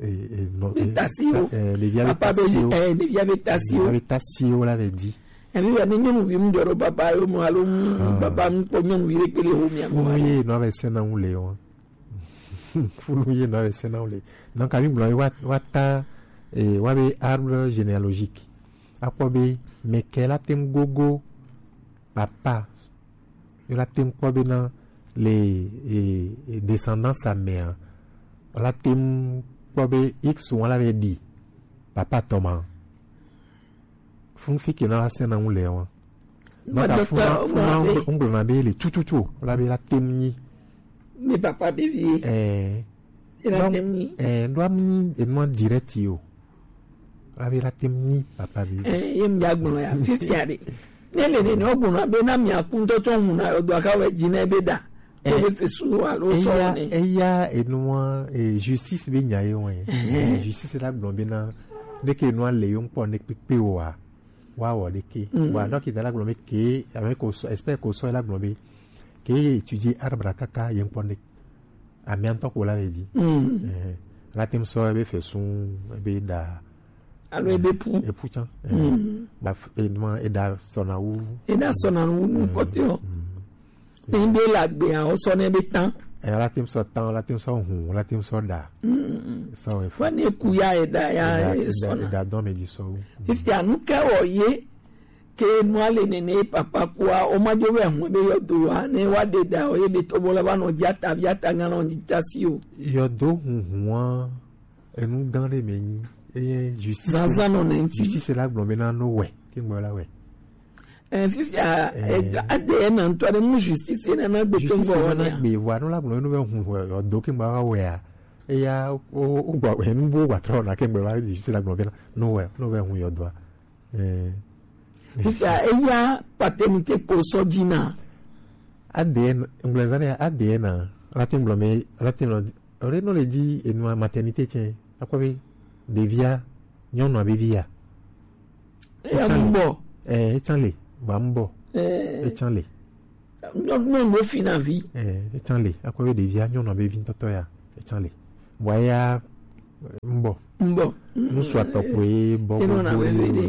e, e, nɔ, e, tasi o. E, ɖevia be papa be tasi o. E, ɖevia be tasi o. Ɖevia be tasi o la vɛ di. Emi ya ne nyɔnuvi mu dɔ ɖo papa yo mo alo mu papa mu kpɔ nyɔnuvi ɖe kpele ho mia mo. Ye nɔ be sena ŋu le wa. Funu ye nɔ be sena ŋu le. Donc a mi gblɔ wa, wa ta e, wa be arbre généalogique. Akpɔ be mɛ kɛ la te ŋu gogo papa yo la te ŋu kpɔ be na le e, e, descendance a mɛ a, la te ŋu kpɔ be X ŋu la be ɖi papa tɔ ma. Fun fi ke na wa sena ŋu le wa. Maka fun fun ŋgblɔ na be le tututu la be la te ŋu nyi. Mi papa be vi. Eh. E la te ŋu nyi. Eh, ndo am nyi enua direct yo. Abe la tem nyi papa be. Eh, ye mi agblɔ ya fifia ɖe. Ne le nene o gbɔna be na mi akun tɔ tɔ hun na o do aka we dzi ne be da. Ko be fesu alo sɔ ne. Eya enua e justice be nya ye wɔn. Eh, justice la gblɔ be na ne ke enua le yo ŋkpɔ ne kpekpe o wa. Wa wɔ ɖe ke. Wa dɔkita la gblɔ be ke ame ko sɔ expert ko sɔ la gblɔ be ke ye étudier arbre kaka ye ŋkpɔ ne. Amia ŋutɔ ko la le dzi. Ɛhɛ. La tem sɔ ebe fesu, ebe da. Alo ebe pu. Epu tsã. Ɛhɛ. Ba f- enuma eda sɔna wu. Eda sɔna wu nu kpɔtɔe o. Ne be la gbea o sɔ ne be tan. Ɛ la tem sɔ tan, la tem sɔ hun, la tem sɔ da. Sɔ efu. Fo ne ku ya eda ya eda sɔna. Eda dɔn me dzi sɔ wu. Fifia nu ke wɔ ye ke nua le nene papa kua o ma jo be hun be yɔdo wa ne wa de da o ye be to bo la ba nɔ dzi ata vi ata ŋa nɔ dzi ta si o. Yɔdo hunhun wa enu gã ɖe me nyi eye justice. Zazã nɔ ne ŋti. Justice la gblɔ be na no wɛ ke ŋgbɔ la wɛ. Eh, fifia eh, ade na ŋtɔ ɖe mu justice na na gbe to ŋgɔ wa na gbe wa no la gblɔ no be hun yɔdo ke ŋgbɔ wa wɛ a. Eya o o gba enu bo gba trɔ na ke ŋgbɔ la justice la gblɔ be na no wɛ no wɛ hun yɔdo a. Eh. Fifia eya paternité kpo sɔ dzi na. A D N, ŋgblɔzã ne A D N a, la te ŋgblɔ me, la te ŋgblɔ, ore no le di enua maternité tsɛ, akpɔ be ɖevia, nyɔnua be via. Eya mu bɔ. Eh, etsan le, ba mu bɔ. Eh. Etsan le. Nyɔnu ɖo fi na vi. Eh, etsan le. Akɔ be ɖevia nyɔnu be vi ŋutɔtɔ ya. Etsan le. Vɔa ya, mbɔ. Mbɔ. Ŋutsu atɔ koe bɔ gbogbo ɖe.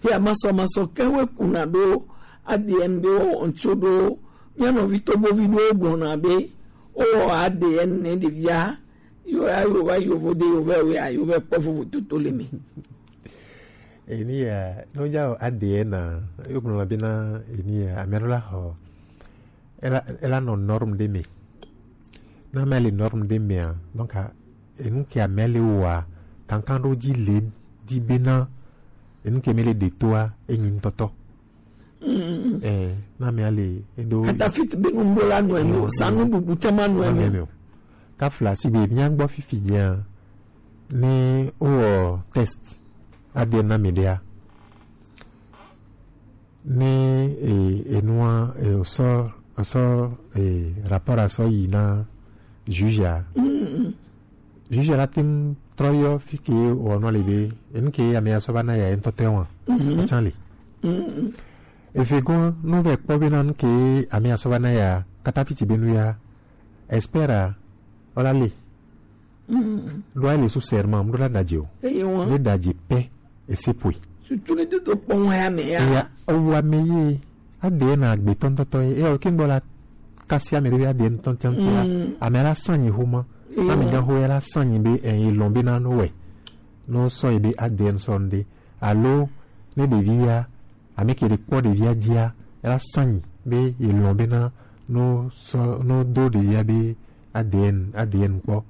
Eh, ya masɔ masɔ kewe kuna ɖo A D N be wɔ ŋtso ɖo. Mía nɔvi tobovi ɖo gblɔna be wowɔ A D N ne ɖevia. Yo ya yo va yovo de yo va yo ya yo va kpɔ vovo toto le me. Eni ya, no ja o A D N a, yo gblɔ na be na eni ya, ame ɖo la xɔ, ela, ela nɔ norme ɖe me. Na ame le norme ɖe mea, donc, a, enu ke ame le wa, kankan ɖo dzi le, di be na, enu ke me le ɖe toa, enyi ŋutɔtɔ. Mm. Eh, na ame ale eɖo. Katafit be nu ɖo la nɔ eme o, sa nu bubu tɛ ma nɔ eme o. Kafla si be mía gbɔ fifi dia, ne o test A D N na me ɖea, ne e, enua, e, o sɔ, o sɔ, e, rapport a sɔ yi na juge a. Mm. Juge la te ŋu trɔ yɔ fi ke wɔ nɔ le be, enu ke ame ya sɔ va na ya ye ŋutɔ tɛ wa. Mhm. Etsan le. Mhm. Efe gɔn, no vɛ kpɔ be na nu ke ame ya sɔ va na ya, kata fiti be nu ya, espera, ɔla le. Mhm. Ɖo a le sous serment, mu ɖo la daje o. Eye wa. Ne daje pɛ, ese poe. Surtout ne dodo kpɔ wa ya me ya. Eya, owa me ye, A D N a gbe tɔntɔtɔ ye, eya o ke ŋgbɔ la kasi ame ɖe be A D N tɔntɔntɔ ya. Mm. Ame la sanyi xoma. Eya. Ame gã xo ya la sanyi be, eh, ye lɔn be na no wɛ. No sɔ ye be A D N sɔ ŋɖe. Alo, ne ɖevi ya, ame ke ɖe kpɔ ɖevia dzia, ela sanyi be ye lɔn be na no sɔ, no do ɖevia be A D N, A D N kpɔ.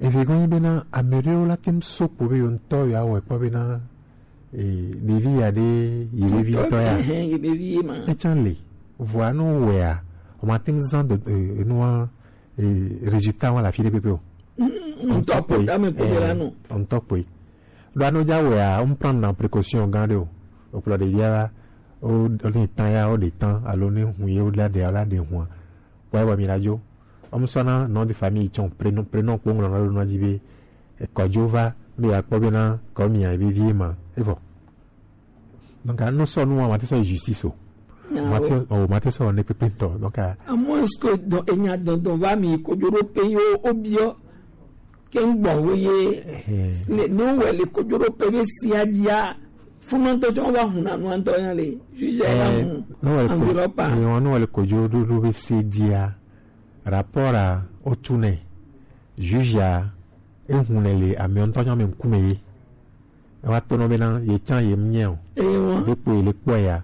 Eve gɔnyi be na ame ɖewo la tem so kpo be yo ŋutɔ yo awɔ kpɔ be na, e, ɖevi ya ɖe ye ɖevi ŋutɔ ya. Ehe, ye ɖevi ye ma. Etsan le, vɔa no wɛa, o ma tem zan de, e, enua, e, résultat wa la fi ɖe pɛpɛ o. Mm, ŋutɔ kpoe, ame kpoe ɖe la nɔ. Ŋutɔ kpoe. Ɖo anu dza wɔa, wo prendre na précaution gã ɖe o. O kplɔ ɖevia va, o, o ne tan ya, o ɖe tan, alo ne hun ye, o la ɖe, o la ɖe hua. Kpɔe bɔ mi la dzo. O mu sɔ na nom de famille tsɔ, prénom, prénom kpo ŋlɔ na ɖo na dzi be, e, kɔdzo va, be ya kpɔ be na, kɔ mi ya be vie ma, e vɔ. Donc, a, no sɔ nu wa, ma te sɔ justice o. Ah, ma te, o, ma te sɔ ne pépé tɔ. Donc, a, à moins que dɔ, enya dɔndɔn va mi kodzo ɖo pe yo, o biɔ. Ke ŋgbɔ wo ye. Ehe. Ne, ne wo le kodzo ɖo pe be sia dzia, funu ŋutɔ tsɔ va hun na nu ŋutɔ ya le. Juge ya va hun. Ne wo le ko-, enveloppe a. Eh, ne wo le kodzo ɖo, ɖo be se dzia, rapport a, o tu ne. Juge a, e hun ne le ame ŋutɔ nyɔ me ŋkume ye. E wa to nɔ be na, ye tsã ye mu nyɛ o. Ewa. Ɖe kpo ye le kpɔ ya.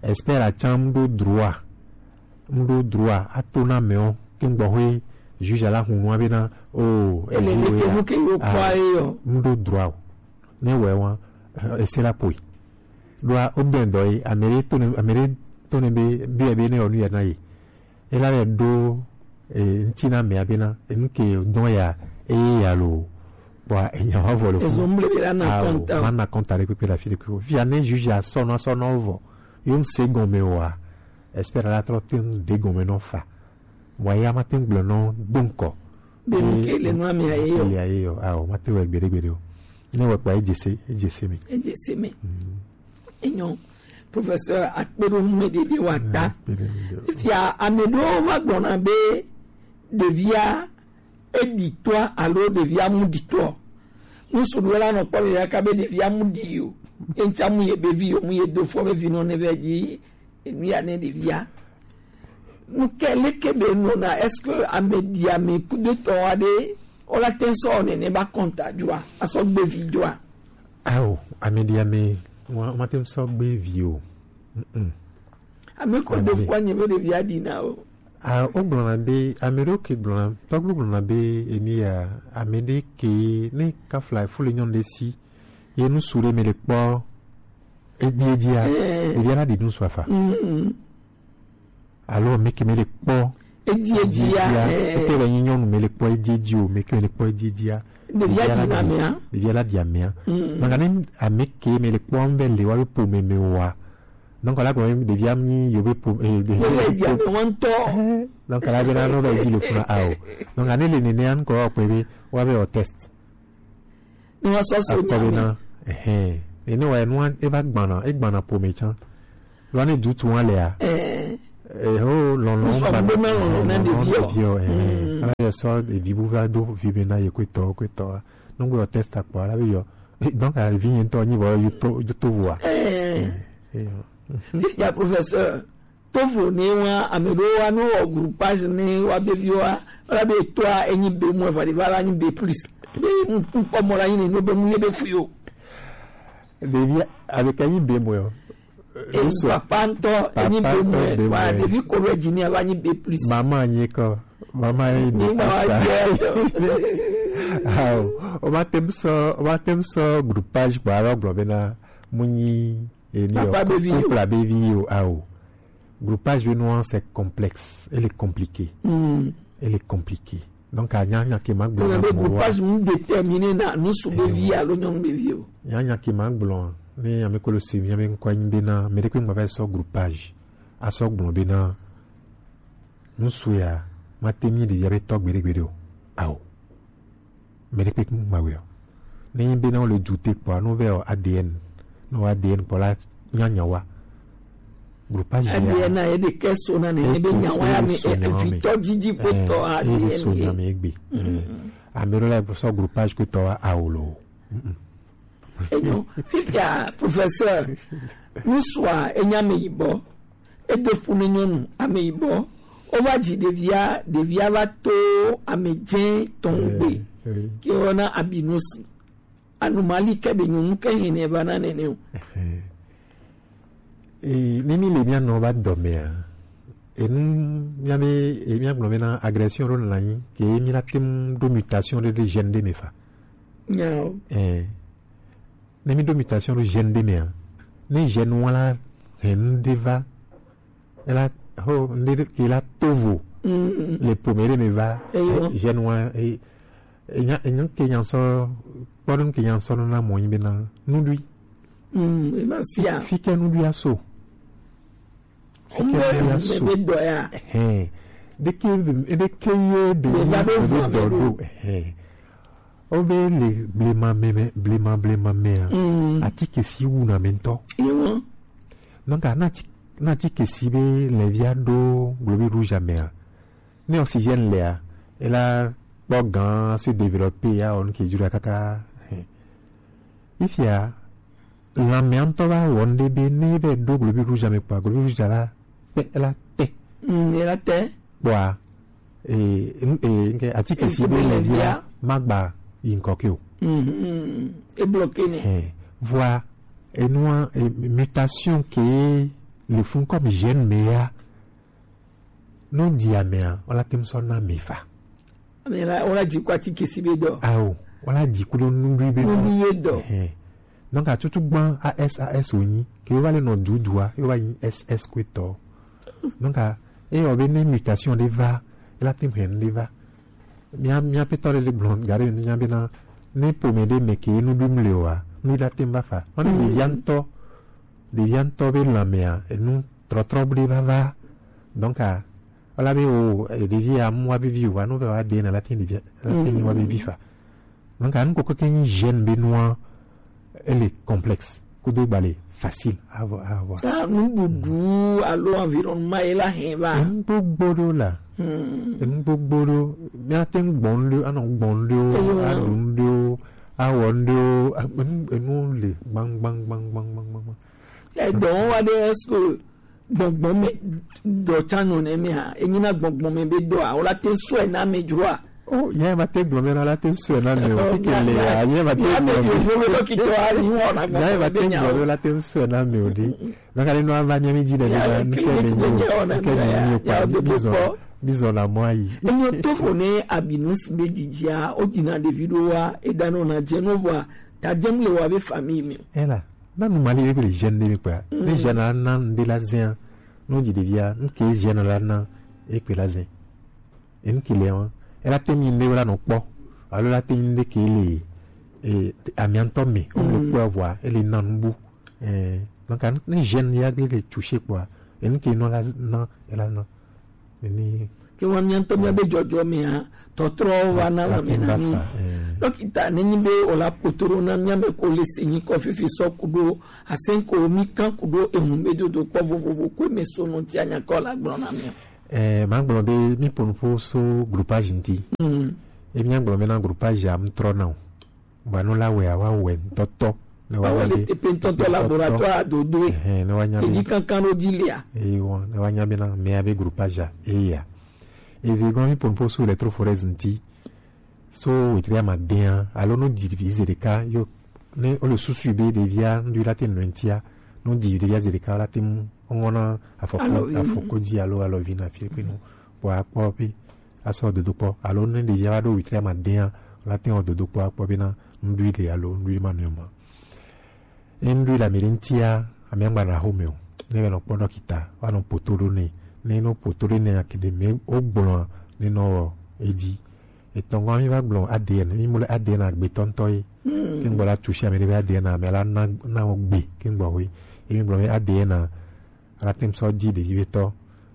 Expert a tsã mu ɖo droit. Mu ɖo droit. A to na mɛ o. Ke ŋgbɔ hoe juge la hun nua be na, o, ele le ke nu ke yo kpɔ ye o. Mu ɖo droit o. Ne wɛ wa, e, ese la poi. Ɖoa, o dɛn dɔ ye, ame ɖe to ne, ame ɖe to ne be, be, be ne o nu ya na ye. Ela le ɖo, e, ŋuti na mea bena, enu ke dɔn ya, eye ya lo, bua, enya wa vɔ le fu. Ezo mble be la na kɔnta. Ma na kɔnta ɖe kpekpe le afi ɖe kpekpe. Fia ne juge a sɔ nɔ, sɔ nɔ vɔ. Yo ŋse gɔme wa. Expert la trɔ te ŋu de gɔme nɔ fa. Wa ya ma te ŋu gblɔ nɔ do ŋkɔ. Be nu ke le nua mea ye yo. Ke le ye yo. Awo, ma te wɛ gbeɖe gbeɖe o. Ne wɛ kpa, e dze se, e dze se mi. E dze se mi. Mm. Enyo, professeur, akpe ɖo nu me ɖeɖe wa ta. Akpe ɖo nu me ɖeɖe. Fia, ame ɖewo va gblɔna be ɖevia e ɖi toa alo ɖevia mu ɖi toa. Ŋsu ɖewo la nɔ kpɔ ɖevia ka be ɖevia mu ɖi o. Ye ŋtsa mu ye be vi yo, mu ye do fɔ be vi nɔ ne be dzi, enu ya ne ɖevia. Nu ke leke be nɔna, est-ce que ame ɖi ame kudetɔ aɖe, o la te sɔ nene ba kɔnta joa, asɔ gbe vi joa? Ao, ame ɖi ame, wa, ma te sɔ gbe vi o. Mm-mm. Ame ko do fɔ nye be ɖevia ɖi na o. A, o gblɔna be, ame ɖewo ke gblɔna, tɔgbu gblɔna be, emi ya, ame ɖe ke, ne kafla fu le nyɔnu ɖe si, ye nusu ɖe me le kpɔ, edi, edia, eh, edia la ɖi nusu afa. Mm-mm. Alo meke me le kpɔ. Edi, edi ya, eh. Ete be nyi nyɔnu me le kpɔ edi, edi o, meke me le kpɔ edi, edi ya. Ɖevia ɖi na mea. Ɖevia la ɖi amea. Mm. Maka ne ameke me le kpɔ be le wa be po me me wa. Donc la gblɔ ɖevia mi yo be po, eh, ɖevia le ɖi ame wa ŋutɔ. Eh, donc la be na no be di le funa a o. Donc ne le nene an ko kpe be wa be o test. Ne wa sɔ so akpɔ be nya na, me. Ehɛn. Ene wa enu e va gbana, e gbana pome tsan. Lo ne du tu wa le a. Eh, eh, ho lɔlɔ Ŋsɔ gbana, gbona lɔlɔ na lɔlɔ ɖeviɔ. Ɖeviɔ, eh. Mm. Ala yɛ sɔ ɖevi bu va do vi be na ye ko etɔ, ko etɔ. Nugbe yɔ test akpɔ, ala be yɔ. Eh, donc, a vi yɛn tɔ nyi vɔ yuto, yuto vua. Eh. Eh, eh, yɔ. Fifia professeur, tovo ne wa, ame ɖewo wa, ne wowɔ groupage ne wa be viwo wa, wala be etɔa enyi B moins, va ɖe va la nyi B plus. Be ŋ-, ŋkpɔ mɔ la nyi ne, ne be mu ye be fu yo. Ɖevi, avec enyi B moins o. Eh, Ŋsɔ. Papa ŋtɔ, enyi Papa B ŋtɔ moins. B moins. Wa ɖevi ko ɖo dzi ne va nyi B plus. Maman nyi kɔ. Maman nyi B plus. Ni ma wa sa. Jɛ. Awo, o ma tem sɔ, o ma tem sɔ groupage kpɔ, alɔ gblɔ be na mu nyi Eni Papa o, be vi o. Couple be vi o, ao. Groupage be nua, c'est complexe. Elle est compliquée. Mm. Elle est compliquée. Donc, a nya nya ke ma gblɔ. Le groupage mu déterminer na nusu be vi alo nyɔnu be vi o. Nya nya ke ma gblɔ. Ne ame kolo se mi, ame nkɔ nyi be na, me de kpe ma va sɔ groupage. A sɔ gblɔ be na, nusu ya, ma te mi de ya be tɔ gbeɖe gbeɖe o. Ao. Mɛ ɖe kpekpe ŋgba wɛ o. Ne nyi be na wo le du te kpɔa, no vɛ o A D N. No A D N kpɔ la nya nya wa. Groupage ya. A D N a ye de ke so na ne, e be nya wa ya me, e vitɔ didi ko tɔ A D N ye. So nya me egbe. Ame ɖo la sɔ groupage ko tɔ wa awo lo. Enyo, fifia, professeur, nusua, enya me yibɔ. Edo fu ne nyɔnu ameyibɔ. Wova dzi ɖevia, ɖevia va to amedzɛ tɔn gbe. Eh, eh. Ke wɔna abinus. Anumali ke be nyɔnu ke hɛnɛ va na nɛnɛ o. Eh. Eh, mi mi le mia nɔ va dɔmea. Enu mia be, eh, mia gblɔ be na agression ɖo na anyi ke mi la tem ɖo mutation ɖe ɖe gène ɖe me fa. Nyao. Eh. Ne mi ɖo mutation ɖo gène ɖe mea, ne gène wa la hɛn nu ɖe va, ela ho nu ɖe ke la tovo le pome ɖe me va, gène wa, e, enya, enya ke nya sɔ, kpɔ ɖo nu ke nya sɔ nɔ na mɔ nyi be na nuɖui. Mm, ema sia. Fi ke nuɖui aso. Fi ke nuɖui aso. Hɛn. Ɖeke, ɖeke ye be ni be dɔ ɖo. Hɛn. Wo be le blema me, me, blema, blema mea, mm, atike si wu na me ŋutɔ. Ewa. Donc, a na ti-, na atike si be lɛvia ɖo globi rouge mea, ne oxygène lea, ela kpɔ gan se développer ya o nu ke jura kaka. Hɛn. Ifia, lanmea ŋutɔ va wɔ nu ɖe be ne be ɖo globi rouge me kpɔa, globi rouge la, pe-, ela te. Mm, ela te. Kpɔa, eh, n-, eh, nke atike si be lɛvia magba yi ŋkɔ ke o. Mhm. E bloqué nɛ. Eh, vɔa, enua, eh, mutation ke le fun comme gène me ya. No di amea, wala tem sɔ na me fa. Ame la, wala dzi ko atike si be dɔ. Ao, wala dzi ko ɖo nuɖui be dɔ. Nuɖui be dɔ. Eh. Donc, atutu gbã A S A S wonyi, ke yo va le nɔ dudua, yo va nyi S S ko etɔ. Donc, a, e yɔ be ne mutation ɖe va, e la tem hɛn ɖe va. Mia, mia petɔ ɖe le gblɔ, ga ɖe mi nya be na, ne pome ɖe me ke nuɖui mle wa, nu la tem va fa. Mane ɖevia ŋutɔ, ɖevia ŋutɔ be lanmea, enu trɔtrɔ ɖe va va. Donc, a, Wala be o, eh, ɖevi ya mu wa be vi o, wa no vɛ wa de na la tin ɖevi, la tin wa be vi fa. Donc, anu koko ke nyi gène be nua, ele complexe. Kudo gba le facile à avoir, à avoir. Ta nuɖuɖu alo environnement ye la hɛn va. Enu gbogbo ɖo la. Hmm. Enu gbogbo ɖo. Mia te ŋu gbɔn ɖo, anɔ gbɔn ɖo, aɖu ɖo, awɔ ɖo, enu, enu le gbang, gbang, gbang. Edɔ wa ɖe, est-ce que gbɔngbɔn me dɔ tsa nɔ nɛ mea, enyi na gbɔngbɔn me be dɔ a, wala te sɔe na me dzroa. O, ya ma te gblɔ me na la te sɔe na me o. Kike le ya, ya ma te gblɔ me. Yo me dɔkitɔ a ni wɔ na gbɔngbɔn me be nya o. La te sɔe na me o di. Na ka le no ava mi mi di de na nu ke me nyi o, ke me nyi o pa, bizɔ, bizɔ na mɔ ayi. Enyo to fo ne abinu si be dzidzia, o dina ɖevi ɖo wa, e da no na dze no vɔa, ta dze mu le wa be famille me. Ela. Na nu mali be le gène ɖe mi kpɔa. Ne gène la na nu ɖe la zɛa, no dzi ɖevia, nu ke gène la na e kpe la zɛ. E nu ke le wa. Ela te mi ne wala no kpɔ. Alo la te mi ɖe ke le, e, amiantɔ me, o le kpɔ vɔa, e le na nu bu. Eh, donc, ne gène ya be le touché kpɔa, e nu ke no la na, ela na. Ni Ke wa mia ŋutɔ mia be jɔjɔ mea, tɔtrɔ wa na lame na mi. Dɔkita, ne nyi be o la potoro na mia me ko le se nyi kɔ fifi sɔ kudo, asen ko mi kan kudo ehun be dodo kpɔ vovovo ko me so no ti anya kɔ la gblɔ na mi. Eh, ma gblɔ be mi ponu po so groupage nti. Mm. E mia gblɔ be na groupage am trɔ na o. Vanu la wɛ awa wɛ ŋutɔtɔ. Ne wa Awa nya le be tepe ŋutɔtɔ laboratoire adodoe. Ɛhɛn, ne wa nya be Keji kankan ɖo dzi lia. Eye wɔn, ne wa nya be na mea be groupage a, eye ya. Eve gɔn mi ponu po so electrophorèse ŋti. So wetri ama dea, alo no di vi ze ɖeka, yo, ne o le susu be ɖevia, ŋɖu la te nɔ ŋtia, no di ɖevia ze ɖeka, la te mu, ŋɔna afɔko, Alo vi. afɔko dzi alo, alo vi na fi kpe no. Bɔ akpɔ pe. Asɔ dodokpɔ alo ne ɖevia va ɖo wetri ama dea, la te wɔ dodokpɔ akpɔ bena ŋɖui le alo ŋɖui ma nɔe ma. Ne ŋɖui le ame ɖe ŋtia, ame agba na xome o. Ne va nɔ kpɔ dɔkita, va nɔ poto ɖo nɛ. Ne nɔ poto ɖo nɛ akede me o gblɔ ne nɔ wɔ edzi. Etɔngɔ mi va gblɔ A D N, mi mo le A D N agbetɔ ŋutɔ ye. Ke ŋgbɔ la tusi ame ɖe be A D N ame la na na wɔ gbe ke ŋgbɔ we. Emi gblɔ be A D N a la tem sɔ di ɖevi be tɔ.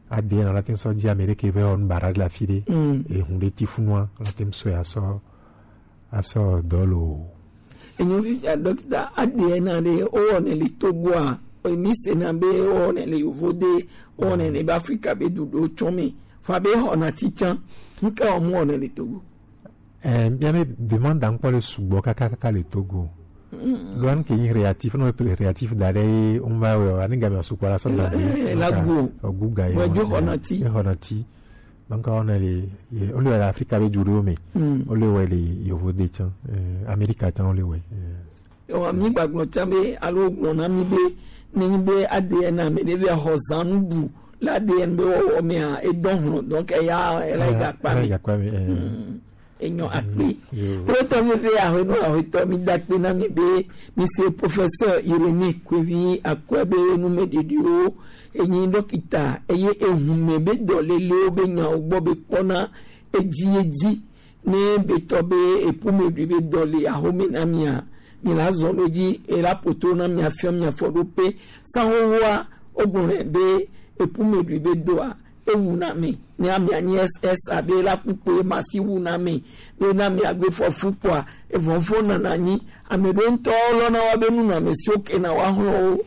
A D N a la tem sɔ di ame ɖe ke ve on bara la fi ɖe. Mm. Ehun ɖe ti funua la tem sɔ ya sɔ asɔ dɔ lo. Enyo fifia dɔkita A D N a ɖe o wɔnɛ le Togo a, o mi se na be o wɔnɛ le yovo ɖe, o wɔnɛ le be Afrika be du ɖo tsɔ mi. Fa be xɔna titsan, nke o mu wɔnɛ le Togo. Eh, mia be demande ankpɔ le sugbɔ kaka kaka le Togo. Lo an ke nyi réactif, no pe réactif da ɖe ye, on va we, ani ga mi sukpɔ la sɔ da Eh, la go. Ogu ga ye. Wa jo xɔna ti. E xɔna ti. Donc on est les, on est à l'Afrique avec du Rome. On est ouais les yovo de chan, Amérique chan on est ouais. Ewa mi gbagblɔ tsa be alo gblɔ na mi be ne nyi be A D N ame ɖe be xɔ zanu bu le A D N be wɔwɔ mea edɔ hlɔn, donc eya ele gakpa mi. Gakpa mi. Enyɔ akpe. Trotɔ mi be ahwenɔ ahwetɔ mi da kpe na mi be mi se professeur Irénée Kwevi Akwɛ be nu me ɖeɖiwo enyi dɔkita eye ehume be dɔlelewo be nyawo gbɔ be kpɔna edzi edzi. Ne be tɔ be epu me ɖui be dɔ le ahome na mia, mi la zɔn ɖo dzi, e la poto na mia fia mia fɔ ɖo pe. San xoxoa, o gbɔn be epu me ɖui be doa, ewu na mi. Ne amia nyi S S abe la kpukpe ma si wu na mi. Be na mia gbe fɔ fu kpɔa, evɔn fo na na nyi. Ame ɖo ŋutɔ lɔ na wa be nu na mi si o ke na wa hlɔ o.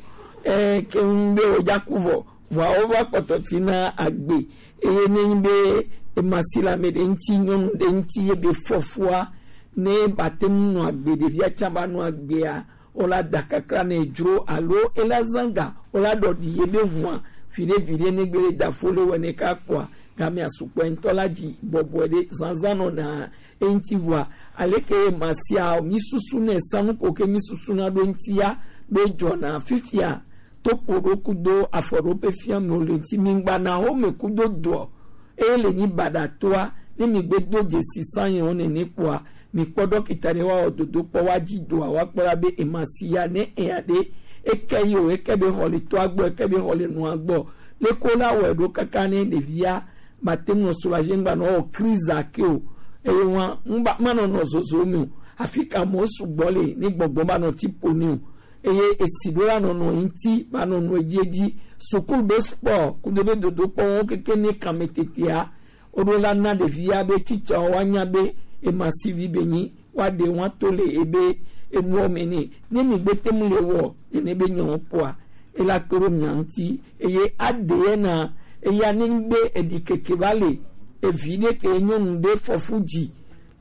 E ke ŋu be o dza ku vɔ. Vɔa wova kpɔtɔ ti na agbe. Eye ne nyi be ema si le ame ɖe ŋuti, nyɔnu ɖe ŋuti ye be fɔfua, ne bate ŋu nɔ agbe, ɖevia tsã va nɔ agbea, wola da kakla ne dzro alo ela zanga, wola ɖɔ ɖi ye be hua, viɖe viɖe ne gbe da fo le wɛ ne ka kpɔa, gamea sukpɔ ŋutɔ la dzi bɔbɔe ɖe zanzan nɔ na eŋuti vɔa, aleke ema sia mi susu ne sanu ko ke mi susu na ɖo ŋutia be dzɔna fifia. To kpo ɖo kudo afɔ ɖo pe fia mi o le ŋuti mi ŋgba na xome kudo doɔ. Eye le nyi baɖa toa, ne mi gbe do dzesi san yɛ wo nene kpoa, mi kpɔ dɔkita ɖe wa wɔ dodo kpɔ wa dzi doa, wa kpɔ la be ema si ya ne eya ɖe, eke yi o, eke be xɔ le toa gbɔ, eke be xɔ le nua gbɔ. Le ko la wɔe ɖo kaka ne ɖevia, ma te ŋu nɔ soulager ŋgba nɔ wɔ crise ake o. Eye wa, ŋgba, ma nɔ nɔ zozo me o. Afi ka mɔ sugbɔ le, ne gbɔgbɔ ma nɔ ti po ni o. Eye esi ɖo la nɔnɔ ŋuti va nɔ nɔ edzi edzi. Sukulu be sport kudo be dodokpɔ wo keke ne kame tetea. Woɖo la na ɖevia be tsitsawo woanya be emasivi be nyi woaɖe woato le ebe enuwo me nɛ. Ne mi gbe te mu le wɔ nene be nyɔwo kpɔa, ela kpe ɖo mia ŋuti. Eye aɖe na eya ne be eɖi keke va le evi ɖe ke nyɔnu ɖe fɔfu dzi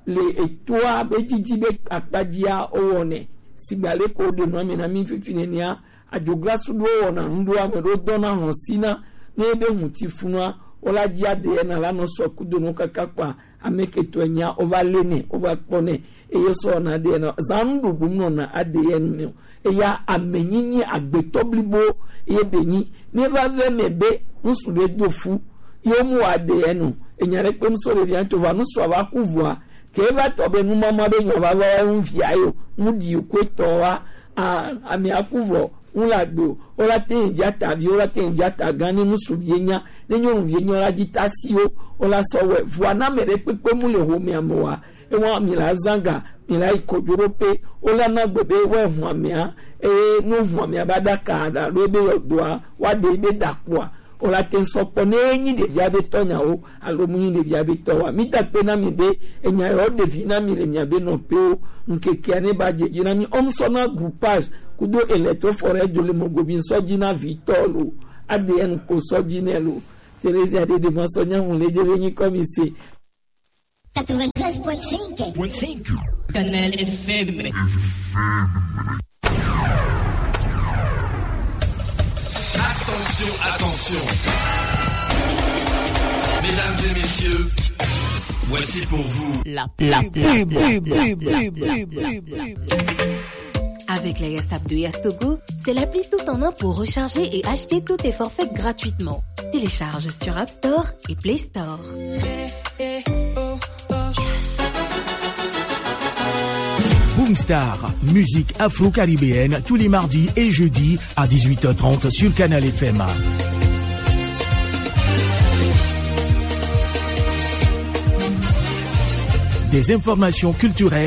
le etoa be dzidzi be akpadzia wowɔnɛ. Sigba leke woɖe nua me na mí fifi nenea, adzoglasu ɖewo wɔna nu ɖo ame ɖewo dɔna hlɔ̃ sina ne ebe ŋuti funua, wola dzi aɖe na la nɔ sɔ kudo nɔ kaka kpa ame ketɔe nya wova lé nɛ, wova kpɔ nɛ, eye sɔ na aɖe na zan nuɖuɖu nɔna aɖe nu me o. Eya amenyinyi agbetɔ blibo ye be nyi. Ne va ve me be ŋsu ɖe do fu, ye mu wa de enu. Enya ɖe kpe ŋso ɖe via ŋtso va ŋsu ava ku vɔa. Ke va tɔ be nu mama be nya va va wa ŋu via yo. Ŋu di ko tɔ wa. A, ame aku vɔ. Ŋu la do. O la te ŋdi ata vi, o la te ŋdi ata gan ne ŋsu vie nya. Ne nyɔnu vie nya la di ta si o. O la sɔ wɛ. Vɔa na me ɖe kpekpe mu le ho me ame wa. Ewa mi la zanga, mi la yi kojo ɖo pe, wo la na gbe be wa hu amea, eye no hu amea ba da ka da ɖo ebe yɔ doa, wa de be da kpoa, O la te sɔ kpɔ ne nyi ɖevia be tɔ nyawo alo mu nyi ɖevia be tɔ wa. Mi da kpe na mi be enya yɔ ɖevi na mi le mia be nɔƒewo. Ŋkekea ne ba dze dzi na mi, o mu sɔ na groupage kudo electro forêt do le mɔgobi sɔ dzi na vi tɔ lo. A D N ko sɔ dzi nɛ lo. Theresia de de ma sɔ nya ŋu le dze be nyi kɔ mi se. Quatre-vingt-treize point cinq. Canal F M. Attention, attention. Mesdames et messieurs, voici pour vous la pub. Avec la Yastap de Yastogo, c'est l'appli tout en un pour recharger et acheter tous tes forfaits gratuitement. Télécharge sur App Store et Play Store. Boomstar, musique afro-caribéenne tous les mardis et jeudis à dix-huit heures trente sur Canal F M. Des informations culturelles.